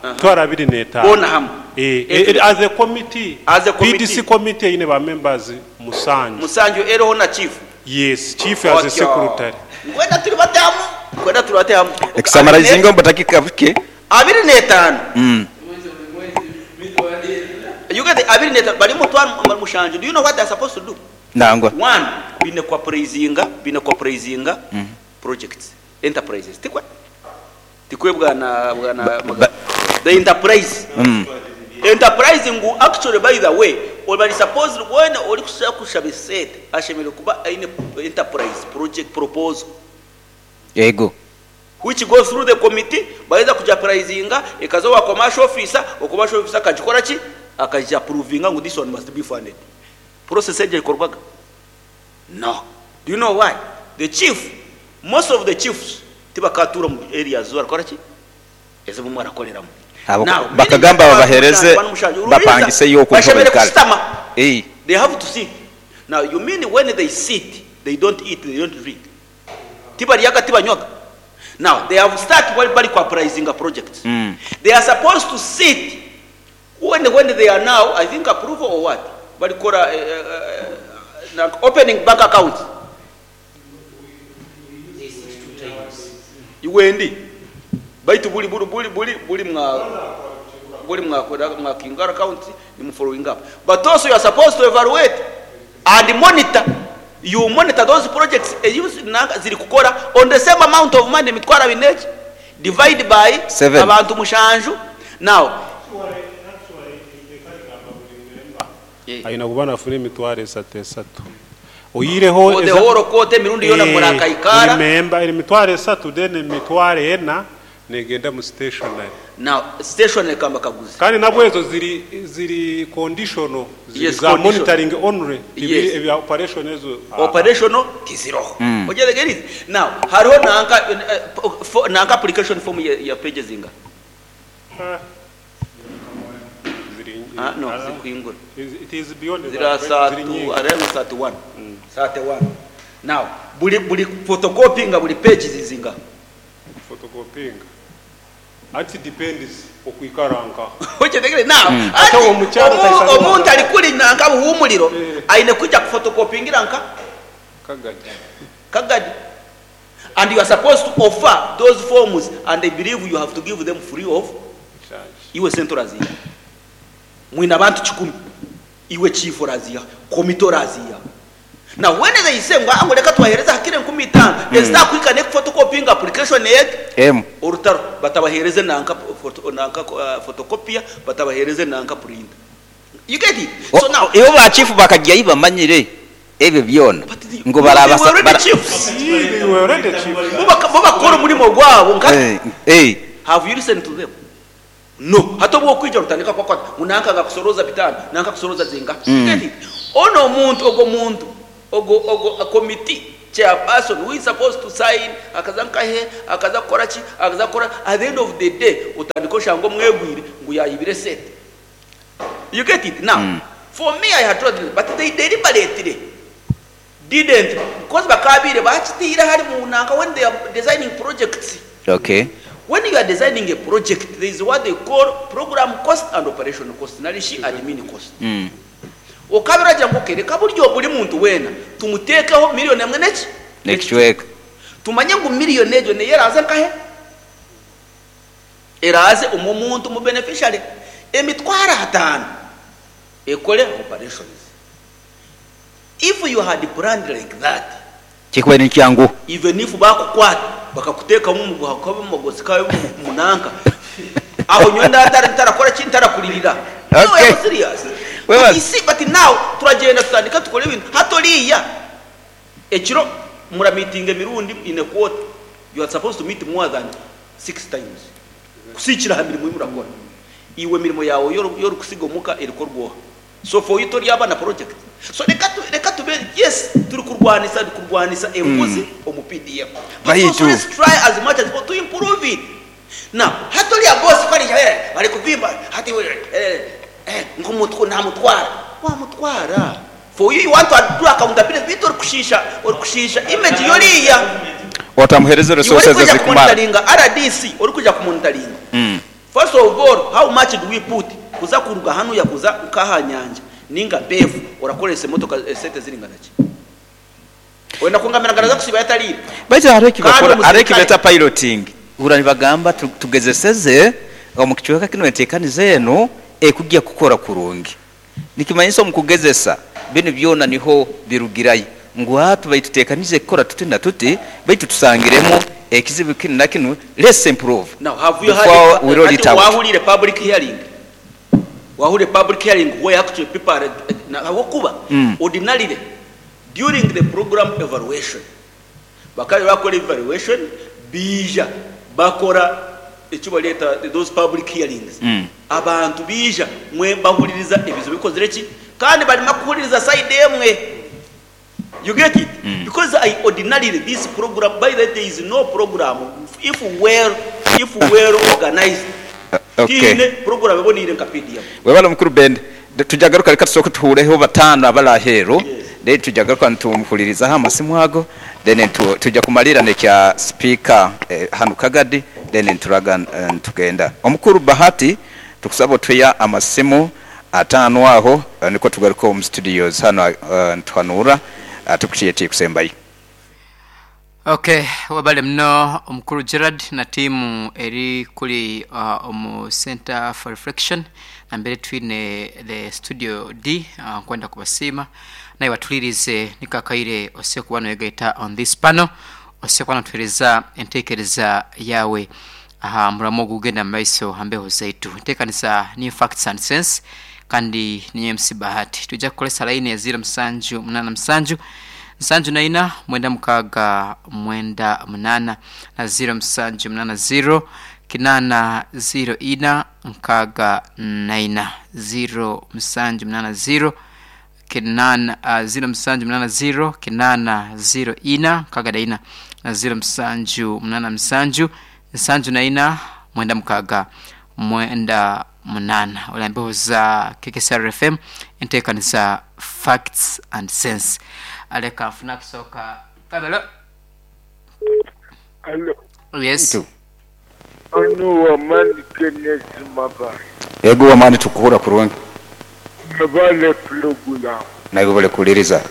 Emitwaro abiri n'etaano. Boona hamwe. Eh, eh, as a committee, As a committee. PDC committee eine ba members musanju. Musanju eriho na chief. Yes, chief as a secretary. Mbwenu turi batamu, mbwenu turi batamu. Ekusamarayizinga omu budakika bukye. Abiri n'etaano. You get it? Abiri n'etaano bari mutwaro mushanju. Do you know what they are supposed to do? Nangwa. One, baine ku appraisinga, baine ku appraisinga projects, enterprises. Tikwe? Tikwe bwana bwana Ba- The enterprise. Enterprise ngu actually by the way, bari supposed weena orikushaba kushaba esente ashemereire kuba aine enterprise project proposal. Yego. Which goes through the committee, baheza kugiappraisinga ekaza owa commercial officer, owa commercial officer akagikora ki? Akagiapprovinga ngu this one must be funded. Process egyo ekorwaga? No. Do you know why? The chief, most of the chiefs tibakatuura omu areas ezi barikukora ki? Ezi bumwe barakoreramu. Abo Now, bakagamba meaning babahereze abantu mushanju, Rubiriza, bapangiseyo oku niho bashemereire baikara. kusitama. Ei. They have to sit. Now, you mean when they sit, they don't eat, they don't drink. Tibaryaga, tibanywaga. Now, they have start while bari ku projects. They are supposed to sit when, when they are now, I think approval or what? Barikora uh, opening bank accounts. Iwendi. Baitu buri buri buri buri buri mwa buri mwakora mwakingara account ni following up. But also you are supposed to evaluate and monitor. You monitor those projects ziri kukora on the same amount of money emitwaro abiri n'eki divide by Seven. abantu mushanju. Now Aine kuba nafuna emitwaro esatu esatu. Oyireho For the whole quarter emirundi yoona murakaikara. Buri member eri mitwaro esatu then emitwaro ena negenda mu stationery. Now stationery kamba kaguzi. Kandi nabwo ezo ziri ziri conditional ziri Yes, za conditional. monitoring only tibiri Yes. ebya operation ezo. Operational tiziroho. Ogyerege Now hariho nanka nanka application form ya, ya pages inga. Ziri Ah, no, zikuingura. It is beyond Zira that, ziri satu, nyingi. around 31. 31. Now, buri buri photocopying buri page zizinga. Photocopying. Anti depends okwikara nka. Okyegere now. Ate omukyala taisana Omuntu waka. ari kuri nanka buhumuriro aine kujja kuphotocopyingira nka Kagadi. Kagadi. And you are supposed to offer those forms and they believe you have to give them free of charge. Iwe sente oraziha. Mwine abantu kikumi. Iwe chief oraziha, komite oraziha. Now when they say ngu angu reka tubahereze hakire enkumi itaano ezitakuhika n'ekuphotocopying application eg M. orutaro batabahereze nanka photo, nanka photocopier batabahereze nanka printer. You get it? So now Ibo ba chief bakajyayo bamanyire ebyo byona But the- ngu they barabasa were already bara- chiefs. They were already chiefs. Bo bakora omurimo gwabo nka Eh, eh. Have you listened to them? No. Hati obu okwija orutandika kwakwata ngu nanka akakusoroza bitaano, nanka akusoroza zinga. You get it? Ono omuntu, ogwo muntu, ogwo, ogwo committee Chairperson who is supposed to sign akaza nkahe akaza kukora ki akaza kukora at the end of the day otandika oshanga omwegwire ngu yayibire esente. You get it? Now, for me I had told them but they deliberately didn't because bakabaire bakitiire ahari munanka when they are designing projects. Okay. When you are designing a project there is what they call program cost and operation cost nari shi admin cost. Okaaba oragira ngu okay reka buryo buri muntu weena tumuteekeho million emwe n'eki? N'ekicweka. Tumanye ngu million egyo neyo eraaze nkahe? Eraaze omu omuntu omu beneficiary emitwaro ataano ekore operations. If you had planned like that. Kikubaire nikyanguha. Even if bakukwata bakakuteekamu omuguha gukaaba omu magosi kabe omu nanka aho nyowe ntarakora ki ntarakuririra. No, Okay. I'm serious. But Webaze. you see, but now turagyenda tutandika tukora ebintu hati oriiya ekiro muramiitinga emirundi in a quarter you are supposed to meet more than 6 times kusiikira aha mirimo ei murakora. Iwe emirimo yaawe ei orikusiga omuka erikorwa oha? So for you toryaba na project? So reka tu reka tube yes turi kurwanisa kurwanisa enguzi omu PDM but also Baitu. let's try as much as possible to improve it. Now hati oriya boss ku ariija eh arikuvimba hati eh eh ngu namutwara wamutwara for you you want to do accountability beitu orikushiisha orikushiisha image y'oriya. Otamuhereza Iwe resources orikwija ezikumara. kumonitaringa RDC orikwija kumonitaringa First of all how much do we put kuza kuruga hanuya kuza nkaha nyanja ninga mpeefu orakoresa emotoka esente ziringana ki? Oyenda kungambira ngu araza kusiiba yatariire? Baitu hariho Kandi ekibakora hariho omusirikare. ekibeta piloting hurra nibagamba tugezeseze omu kicweka kinu entekaniza enu ekugya kukora kurungi nikimanyisa omu kugezesa binu byona niho birugirayo ngu hati baitu tutekanize kukora tuti na tuti baitu tusangiremu ekizibu kinu na kinu let's improve Now have you heard before we roll hati it out. wahuriire public hearing? Wahuriire public hearing where actually people are ahabw'okuba ordinarily during the program evaluation bakaba bakora evaluation baija bakora eki bareeta those public hearings abantu baija mwe bahuririza ebizibu bikozire ki kandi barima kuhuririza side emwe. You get it? Because I ordinarily this program, by the way, there is no program if well, if well organized. Okay. Tiine program eboniire nka PDM. Webale mukuru Bende. Tujagaruka reka tusooke tuhureho bataano abari aheeru Yes. then tujagaruka nitumuhuririzaho amasimu ago then tuja kumalira nekya speaker hanu Kagadi then nituraga nitugenda. Omukuru Bahati tukusaba otuheyo amasimu ataano aho nikwo tugaruke omu studios hanu nituhanuura tukukyeta ekusembayo. Ok webale muno omukuru Gerald na tiimu eri kuri omu Centre for Reflection nambere twine the studio D nkwenda kubasiima naiwe atuhuririze niko akaire ose kuba noyegaita on this panel ose kuba notuhereza entekereza yaawe aha muramo ogugenda mumaiso aha mbeho zaitu. Entekanisa ni Facts and Sense kandi ninyowe MC Bahati. Twija kukoresa layini ya ziiro musanju munaana musanju nsanju na ina mwenda mukaaga mwenda munaana na ziiro musanju munaana ziiro kinaana ziiro ina nkaaga na ina ziiro musanju munaana ziiro kinaana ziiro musanju munaana ziiro kinaana ziiro ina nkaaga na ina na ziiro musanju munaana musanju nsanju na ina mwenda mukaaga mwenda munaana. Ori aha mbeho za KKCR FM enteekanisa Facts and Sense. Reka nfune akusooka. Hello. Alo, Yes. onu Wamani Kenneth Mabare. Ego Wamani tukuhurra kurungi. Mwebale pulogulaamu. Naiwe webale kuhuririza.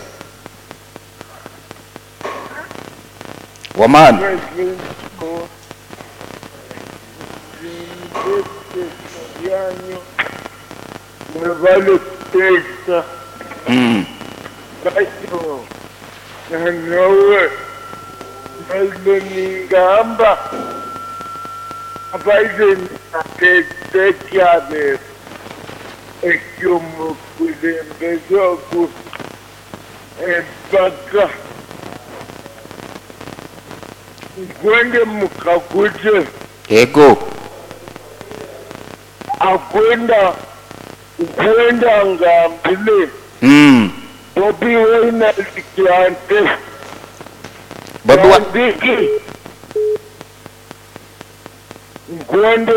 Wamani. Mwebale kuteesa. Baitu nanyowe mbaire ningamba mbaire ninateesa ekyabere eky'omukulembeze ogu empaka nkwende mukaguze. Ego. Akwenda nkwenda ngambile. Bobi Wine ali ante. Bobi wa. Tandiki nkwenda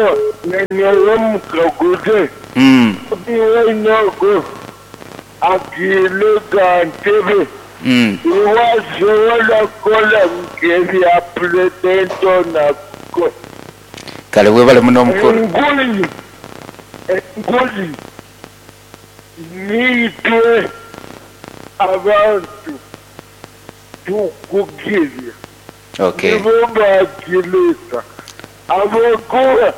nanyowe mukaguze Bobi Wine ogu agiire ga ntebe iwe asobola kukola nk'ebya Pulezidenti onu akukora? Kale webale muno omukulu. Enguzi enguzi niitwe abantu tukugirya. Okay. Nibo bagireeta ahabw'okuba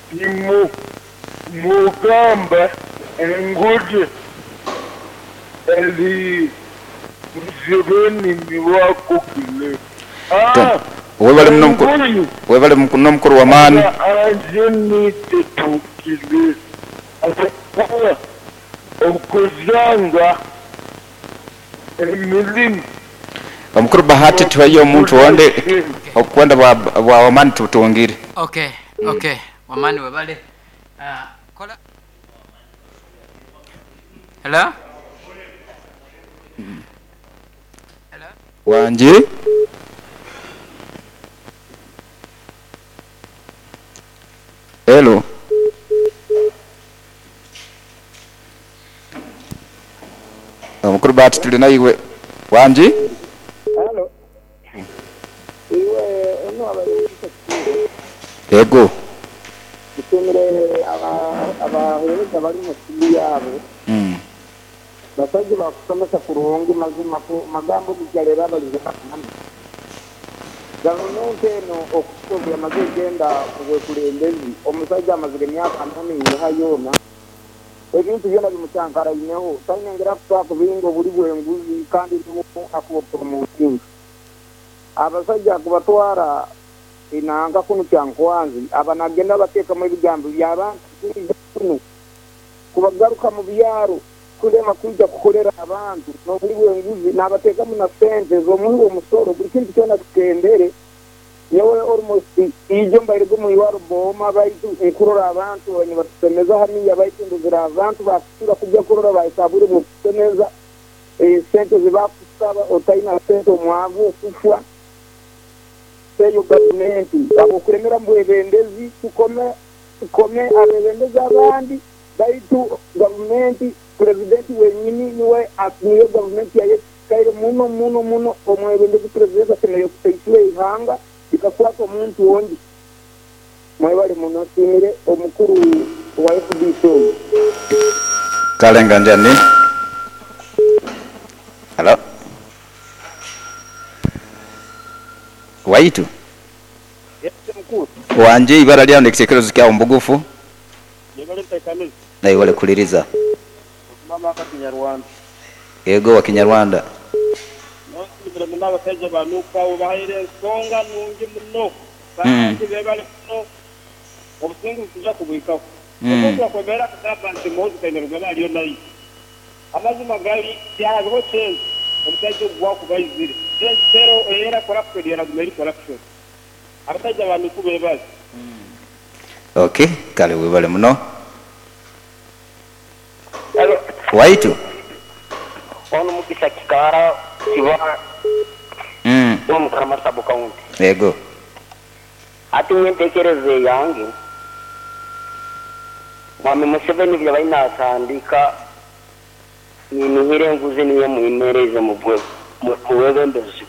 timu mugamba enguzi eri Museveni niwe akugireeta. Tom, Webale muno mukulu. Enguzi Webale muno mukulu wamaani. aba niitwe tugireeta ahabw'okuba okuzanga emirimu Omukulu Bahati tuheyo omuntu ondi okwenda bwa bwa wamaani tubutungire. Okay, okay. Wamani webale. Ah, kola. Hello? Hello? Wangi. Hello. Omukulu Bahati tuli naiwe. Wangi. Halo. Iwe ono abaire Mugisha Kituuro. Yego. Nsiimire abaheereza abari omu studio abo. Basaija bakushomesa kurungi mazima ku magambo ogu gareba abarize bakanamu. Gavumenti eno okuhika obu yamaze egyenda obwekurembezi, omusaija amazire emyaka ana neiha yoona, ebintu byona bimucankaraineho, taine ngeri akusobola kubinga oburi bw'enguzi kandi niwe akubupromotinga. Abasaija kubatwara enanka kunu Kyankwanzi, aba nagenda abateekamu ebigambo by'abantu kwija kunu kubagaruka mu byaro kurema kwija kukorera abantu n'oburi bw'enguzi nabateekamu na sente z'omuhi w'omusoro buri kintu kyona kikendere. Nyowe almost ijo mbairege omu irwaro Booma baitu nkurora abantu nibatusemeza haniya baitu ndozire abantu bakusura kujya kurora bahika bwire bw'okusemeza sente zibakusaba otaina sente omwavu okufwa. Eyo gavumenti ahabw'okuremera omu bwebembezi tukome tukome abebembezi abandi baitu gavumenti purezidenti wenyini niwe niyo gavumenti yayekaire muno muno muno omwebembezi purezidenti asemeriire kusaisura eihanga likakwata omuntu ondi. Mwebale muno nsiimire omukuru wa FDC ogu. Kale nga njani. Halo. Waitu. Yes mukuru. Wangi ibara lyawo n'ekitekerezo kyawo mubugufu. Yebale ntekaniza. Naiwe webale kuhuliriza. Mama aka Kinyarwanda. Yego wa Kinyarwanda. Nonsiimire muno abasaija ba Nup abo bahaire ensonga nungi muno kandi bebale muno obusinguzi nituija kubuhikaho. Omuntu akwemera akagamba nti Muhoozi Kainerugaba ariyo naija. Amazima gari tihariho change omusaija ogu wakuba aizire. Change teriho era corruption eraguma eri corruption. Abasaija ba Nup bebale. Ok kale webale muno. Waitu. Ono Mugisa Kikaara Kiba omu Karama Sub County. Yego. Hati nyowe entekereza eyange, Mwami Museveni ebi abaire natandika ninihira enguzi niyo emwimereize omu bwebembezi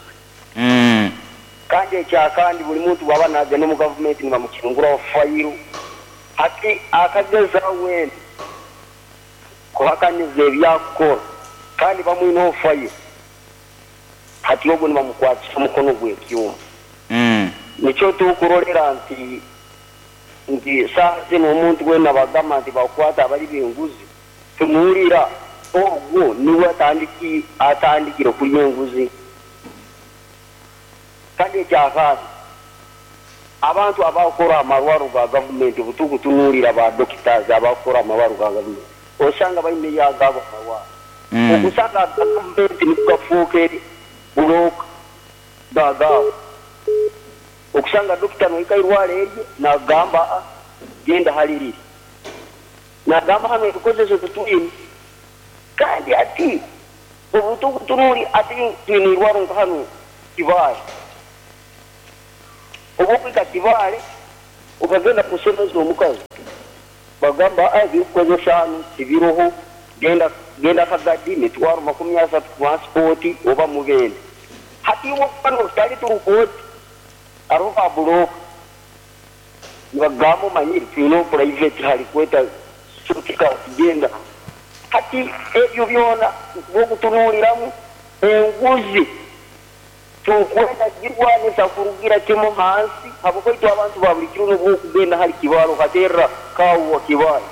bwe. Kandi ekyakandi buri muntu bwaba nagenda omu gavumenti nibamukinguraho fayiro. Hati akagezaho weena kuhakaniza ebi akukora kandi bamwineho fayiro, hati ogwo nibamukwatisa omukono gw'ekyoma. Nikyo tukurorera nti nti saaha zinu omuntu weena bagamba nti bakukwata abari b'enguzi, tumuhurira ogwo niwe atandikire kurya enguzi. Kandi ekyakandi, abantu abakukora amarwaro ga gavumenti obutukutunuurira ba doctors abakukora amarwaro ga gavumenti, osanga baine agaabo amarwaro. Okusanga aga gavumenti nigo gafuuka bulooka gagaabo. Okusanga dokita nohika airwaro erye nagamba aa genda hali riri. Nagamba hanu ebikozeso titwine. Kandi hati obutukutunuuri ati twine eirwaro nka hanu Kibaale. Obu okuhika Kibaale okagenda kushemeza omukazi bagamba aa ebirikukozesa hanu tibiroho genda genda Kagadi mitwaro 30 transport oba Mubende. Hati iwe okuba notari turukooti hariho ba bulooka nibakugamba omanyire twineho private harikweta shortcut gyenda. Hati ebyo byona nikuba okutunuuriramu enguzi. Turikwenda kugirwanisa kurugira kimwe ahansi ahabw'okuba itwe abantu ba buri kiro n'obu orikugenda ahari Kibaale okateerera kaawa wa Kibaale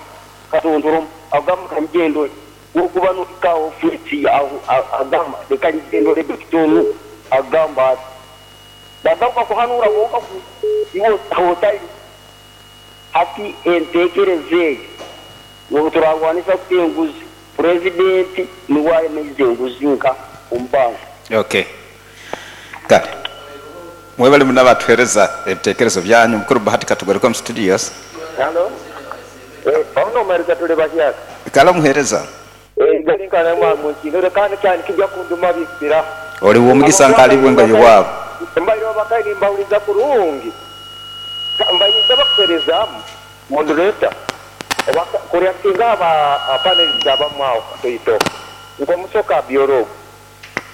katontoromu agamba ka nyije ndore. Ku orikuba nohika aha ofiisi aho agamba reka nyije ndore dokita onu agamba ati. Bagaruka kuhanuura kwonka ku iwe otari. Hati enteekereza egyo n'obu turarwanisa tuta enguzi, Purezidenti niwe ayemeize enguzi nka omu bantu. Okay. Kale. Mwebale muno abatuhereza ebitekerezo byanyu. Mukuru Bahati katugaruke omu studios. Halo. Eh, pauno omuhereza tuli bahyaka. Kale omuhereza. Eh, gali nka namwe munkinure kandi kyani kija kunduma bikira. Oli w'omugisa nka ali bwenga y'owaabo. Mbaire obakayi nimbahuriza kurungi. Mbaire ninsaba kuherezamu moderator oba kureactinga aha ba panelists abamu aho katoito nkomusoka Abiora ogu.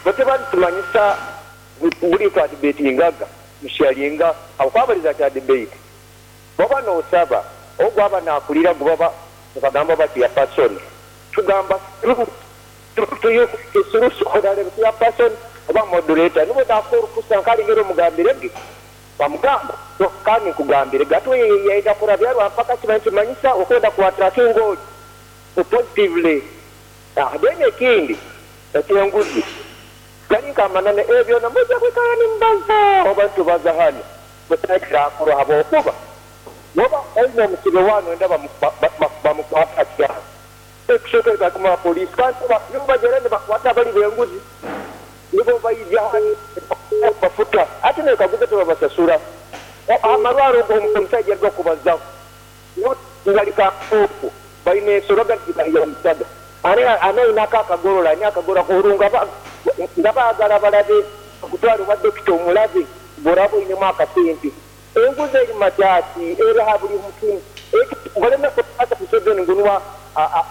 Bo tibaritumanyisa buri twadebatingaga musharinga ahabw'okuba bariza kya debate. Baba nosaba ogu aba nakurira gu baba nibagamba bati ya person tugamba through through to you through ya person oba moderator nibo nakuha orukusa nkaringeri omugambire ge Bamugamba, Kandi nkugambire, gati oyo yaija kurabya rwampaka kiba nikimanyisa okwenda ku attractinga ori positively. Then ekindi eky'enguzi, gari nk'amananu ebyo byona mwija kwikara nimubaza oba nitubaza hanu, busaho ekirakorwa habwokuba woba oine omusibe wa noyenda bamukwate hakyaha, ekusooka ekatuma abapoliisi kandi nibo bagyenda nibakwata abali b'enguzi. Nibo baija hanu nibafuta. Hati nekaguza tibabasasura. Amarwaro ogu omusaija aruga kubazaho ngali Kafuufu baine ensoroga nigibahiganisaga. Ani aine ako akagorora ani akagorora oru nga bagara barabe bakutware owa dokita omurabe oraba oinemu akasente. Enguzi eri makyaki eri aha buri mukimu. Baleme kubaza Museveni ngu nuwe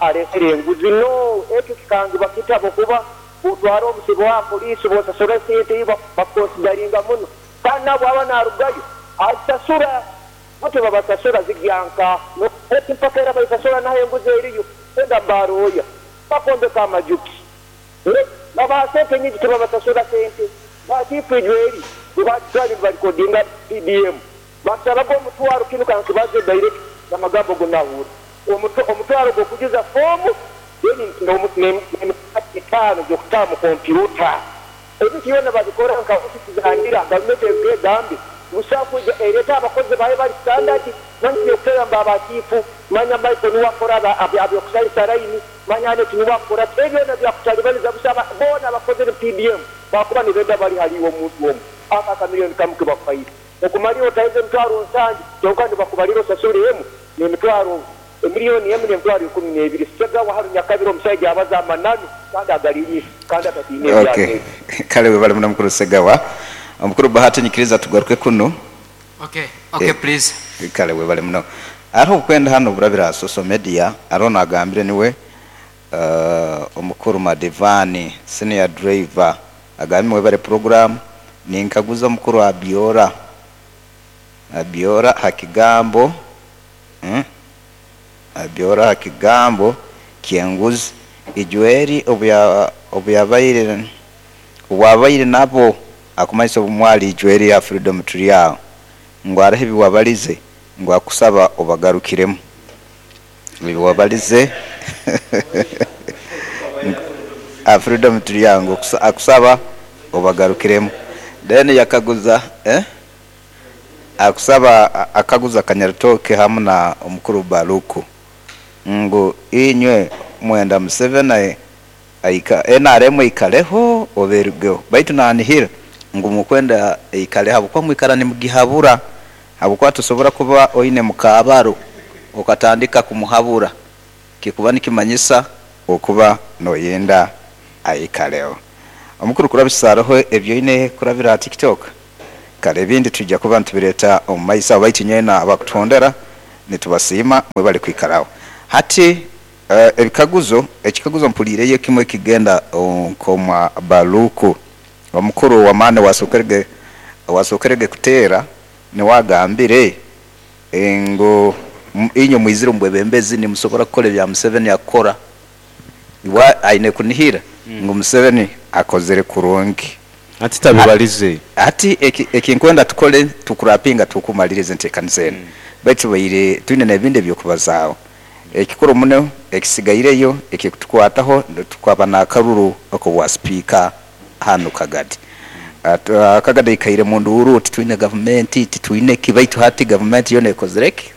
aresire enguzi no ekyo kikangibwa kita habwokuba Bwotwara omusibe owa poliisi bwosasura esente ei bakukonsidaringa muno kandi nawe bwaba narugayo azisasura. Bo tibabasasura zigya nka oti mpaka era baisasura naho enguzi eriyo enda mubaroya bakombeka amaju ki babaha sente nyingi tibabasasura sente. Ba chifu ijweri bwebagitwara nibarikodinga PDM bakusabaga omutwaro kinu kankibaze direct namagambo gunahura omutwaro gwokujuza fomu Then n'emitwaro etaano gy'okutaha mu kompyuta. Ebintu byona babikora nka ofisi za ndira, gavumenti eruge egambe ngu busaho kwija ereete abakozi baayo abari standard, manya eby'okuteera ngu ba chiifu, manya Michael niwe akora aby'okusharisa layini, manya Annet niwe akora ki, ebyo byona byakutaribaniza busha boona abakozire mu PDM baakuba nibenda bari hariiwe omuntu omwe. Ako akamiliyoni kamu kebakuhaire okumarira otaheza emitwaro nsanju kyonka nibakubarira osasure emu n'emitwaro Emiliyoni emu n'emitwaro 12. Ssegawa Haruni Nyakabira omusaija abaza amananu kandi agariinyiso kandi atatiina Okay. ebyagezi. Kale webale muno Mukuru Ssegawa. Omukuru Bahati nyikiriza tugaruke kunu. Okay, okay Eh, please. Kale webale muno. Hariho obukwenda hanu oburabire aha social media, hariho nagambire niwe uh, omukuru Madivani senior driver agambire mwebale program ninkaguza omukuru Abiora Abiora ha kigambo Abiora aha kigambo ky'enguzi. Ijweri obu obu abaire nabo akumanyisa obu mwari Ijweri ya Freedom turi aho ngu hariho ebi wabarize ngu akusaba obagarukiremu ebi wabarize aha Freedom turi aho ngu akusaba obagarukiremu then yakaguza eh? Akusaba akaguza Kanyarutooke hamu na omukuru Baluku ngu inywe mwenda Museveni aika NRM eikareho oba erugeho baitu nanihira ngu mukwenda eikareho ahabw'okuba mwikara nimugihabura ahabw'okuba tosobora kuba oine mukaabaro okatandika kumuhabura kikuba nikimanyisa okuba noyenda aikareho. Omukuru kurabisa hariho ebi oine kurabira aha TikTok? Kare ebindi twija kuba nitubireeta omu maiso aho baitu nyowe abakutuhondera nitubasiima mwebale kwikara aho. Hati ebikaguzo, ekikaguzo mpuliireyo ekimwe ekigenda nk'omwa Baluku omukuru w'amaani owasookerege owasookerege kuteera niwe agambire ngu inywe mwizire omu bwebembezi nimusobora kukora ebya Museveni akukora. Iwe aine kunihira ngu Museveni akozire kurungi. Hati tabibarize. Hati eki nkwenda tukole tukurapinga tukumaliriza enteekaniza enu. Baitu tubaire twine n'ebindi eby'okubazaaho. Ekikuru muno ekisigaireyo ekikutukwataho tukaba n'akaruru ak'obwa sipiika hanu Kagadi. Kagadi aikaire mu nduuru titwine gavumenti, titwine ki baitu hati gavumenti yoona ekozire ki?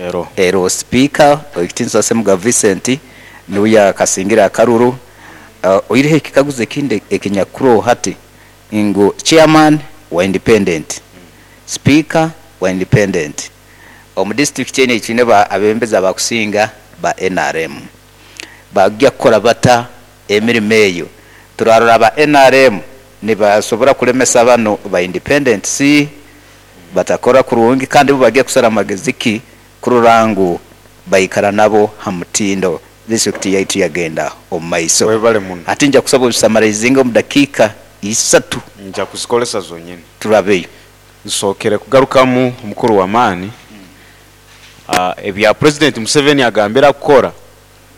Ero. Ero sipiika Owekitiinisa Ssemuga Vincent niwe yakasingire akaruru. Oihireho ekikaguzo ekindi ekinyakuroho hati ngu chairman wa independent, sipiika wa independent, omu disiturikiti enu ei twine abebembezi abakusinga ba nrm. Bagya kukora bata emirimo eyo? Turarora aba nrm nibasobora kulemesa banu ba independents? Batakora kurungi kandi bo bagya kusara magezi ki kurora ngu baikara nabo ha mutindo disiturikiti yaitu yagenda omu maiso. Webale muno. Hati nja kusaba obisamaraizinge omu dakiika isatu. Nja kuzikoresa zonyini. Turabeyo. Nsookere kugarukamu omukuru w'amaani ebya Purezidenti Museveni agambire akukora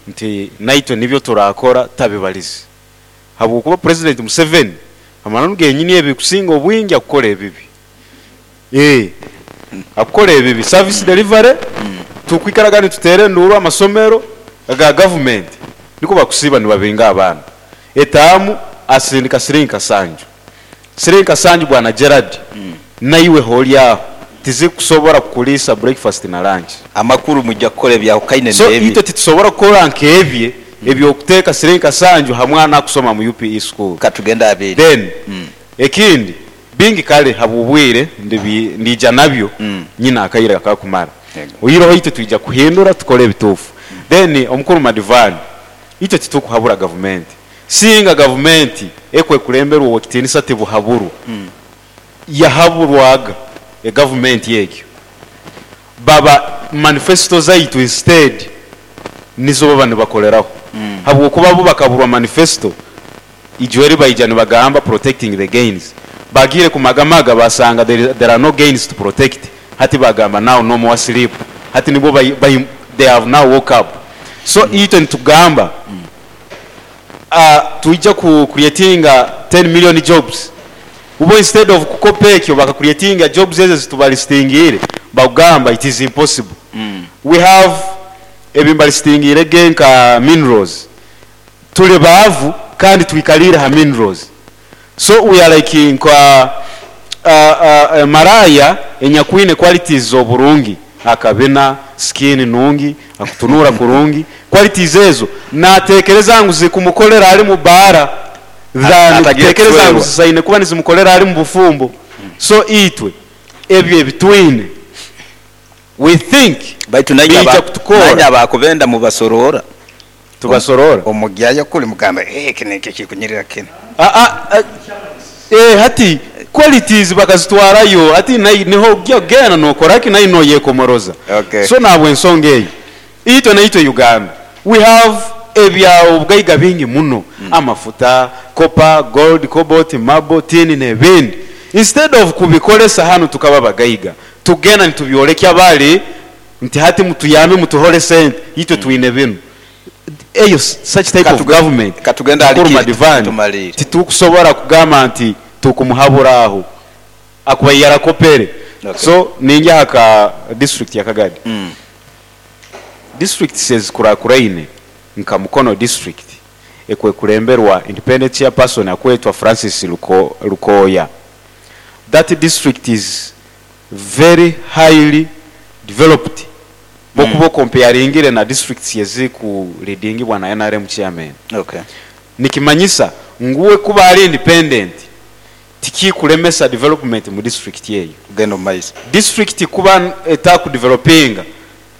nti naitwe nibyo turakora tabibalize habwokuba Purezidenti Museveni amananu genyini ebikusinga obwingi akukora ebibi. Eeh akukora ebibi. Service delivery tukwikaraga nituteera enduuru amasomero aga gavumenti nikwo bakusiiba nibabinga abaana. Etaamu asindika siringi kasanju. Siringi kasanju bwana Gerald naiwe holi aho tizikusobora kukuliisa breakfast na lunch. Amakuru mwija kukora ebyahukaine So n'ebye. itwe titusobora kukora nk'ebye eby'okuteeka siringi kasanju ha mwana akusoma mu UPE school. Katugende aha bindi. Then ekindi bingi kare habw'obwire ndiija nabyo nyine akaire akakumara. Oihireho itwe twija kuhindura tukore ebituufu. Then omukuru Madivani itwe titukuhabura gavumenti. Singa gavumenti ekwekulemberwa Owekitinisa Tibuhaburwa yahaburwaga egavumenti egyo, baba manifesto zaitu instead nizo baba nibakoleraho habwokuba bo bakaburwa manifesto ijo eri baija nibagamba protecting the gains bagiire kumagamaga basanga there are no gains to protect hati bagamba now no more sleep hati nibwo they have now woke up so itwe nitugamba Twija ku creatinga ten million jobs bo instead of kukopa ekyo baka creatinga jobs ezo ezitubalistingiire bakugamba it is impossible. We have ebimbalistingiire ge nka minerals turi baavu kandi twikariire ha minerals so we are like nka maraaya enyakwine qualities z'oburungi akabina, skin nungi, akutunuura kurungi, qualities ezo natekereza ngu zikumukolera ari mu baara than Atagiire kutekereza ngu kucwerwa. zisaine kuba nizimukolera ari mu bufumbo. So itwe ebyo ebitwine we think Baitu nainye biija aba kutukoora. nainye abakubenda mubasorora. Tubasorora? Omugyayo kuri mugamba eh eki nikyo kikunyirira kinu. Aa eh hati qualities bakazitwarayo hati niho ogya kugenda nokora ki nayo noyekomoroza. Okay. So nahabwensonga eyo itwe naitwe Uganda we have ebya obugaiga bingi muno amafuta, copper, gold, cobalt, marble, tin nebindi instead of kubikoresa hanu tukaba abagaiga tugenda nitubyorekya bari nti hati mutuyambe mutuhore sente itwe twine binu. Eyo such type of government Katugende ahari Mukuru kiri Madivani tumariire. titukusobora kugamba nti tukumuhabura aho akuba yarakopere. Okay. So ningya aha ka district ya Kagadi. Districts ezikurakuraine nka Mukono district ekwekulemberwa independent chairperson akwetwa Francis Lukooya. That district is very highly developed bwokuba okompeyaringire na districts eziku leadingibwa na nrm chairman. Okay. Nikimanyisa ngu we kuba ari independent tikikulemesa development mu district eyo. Kugenda omu maiso. District kuba etakudevelopinga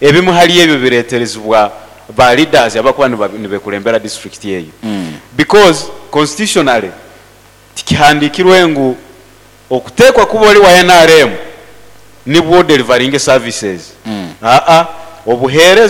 ebimwe hali ebyo bireterezibwa ba leaders abakuba nibekulembera district eyo because constitutionally. Tikihandiikirwe ngu okuteekwa kuba ori wa nrm nibwo oderivaringe services. Aa, obuheereza.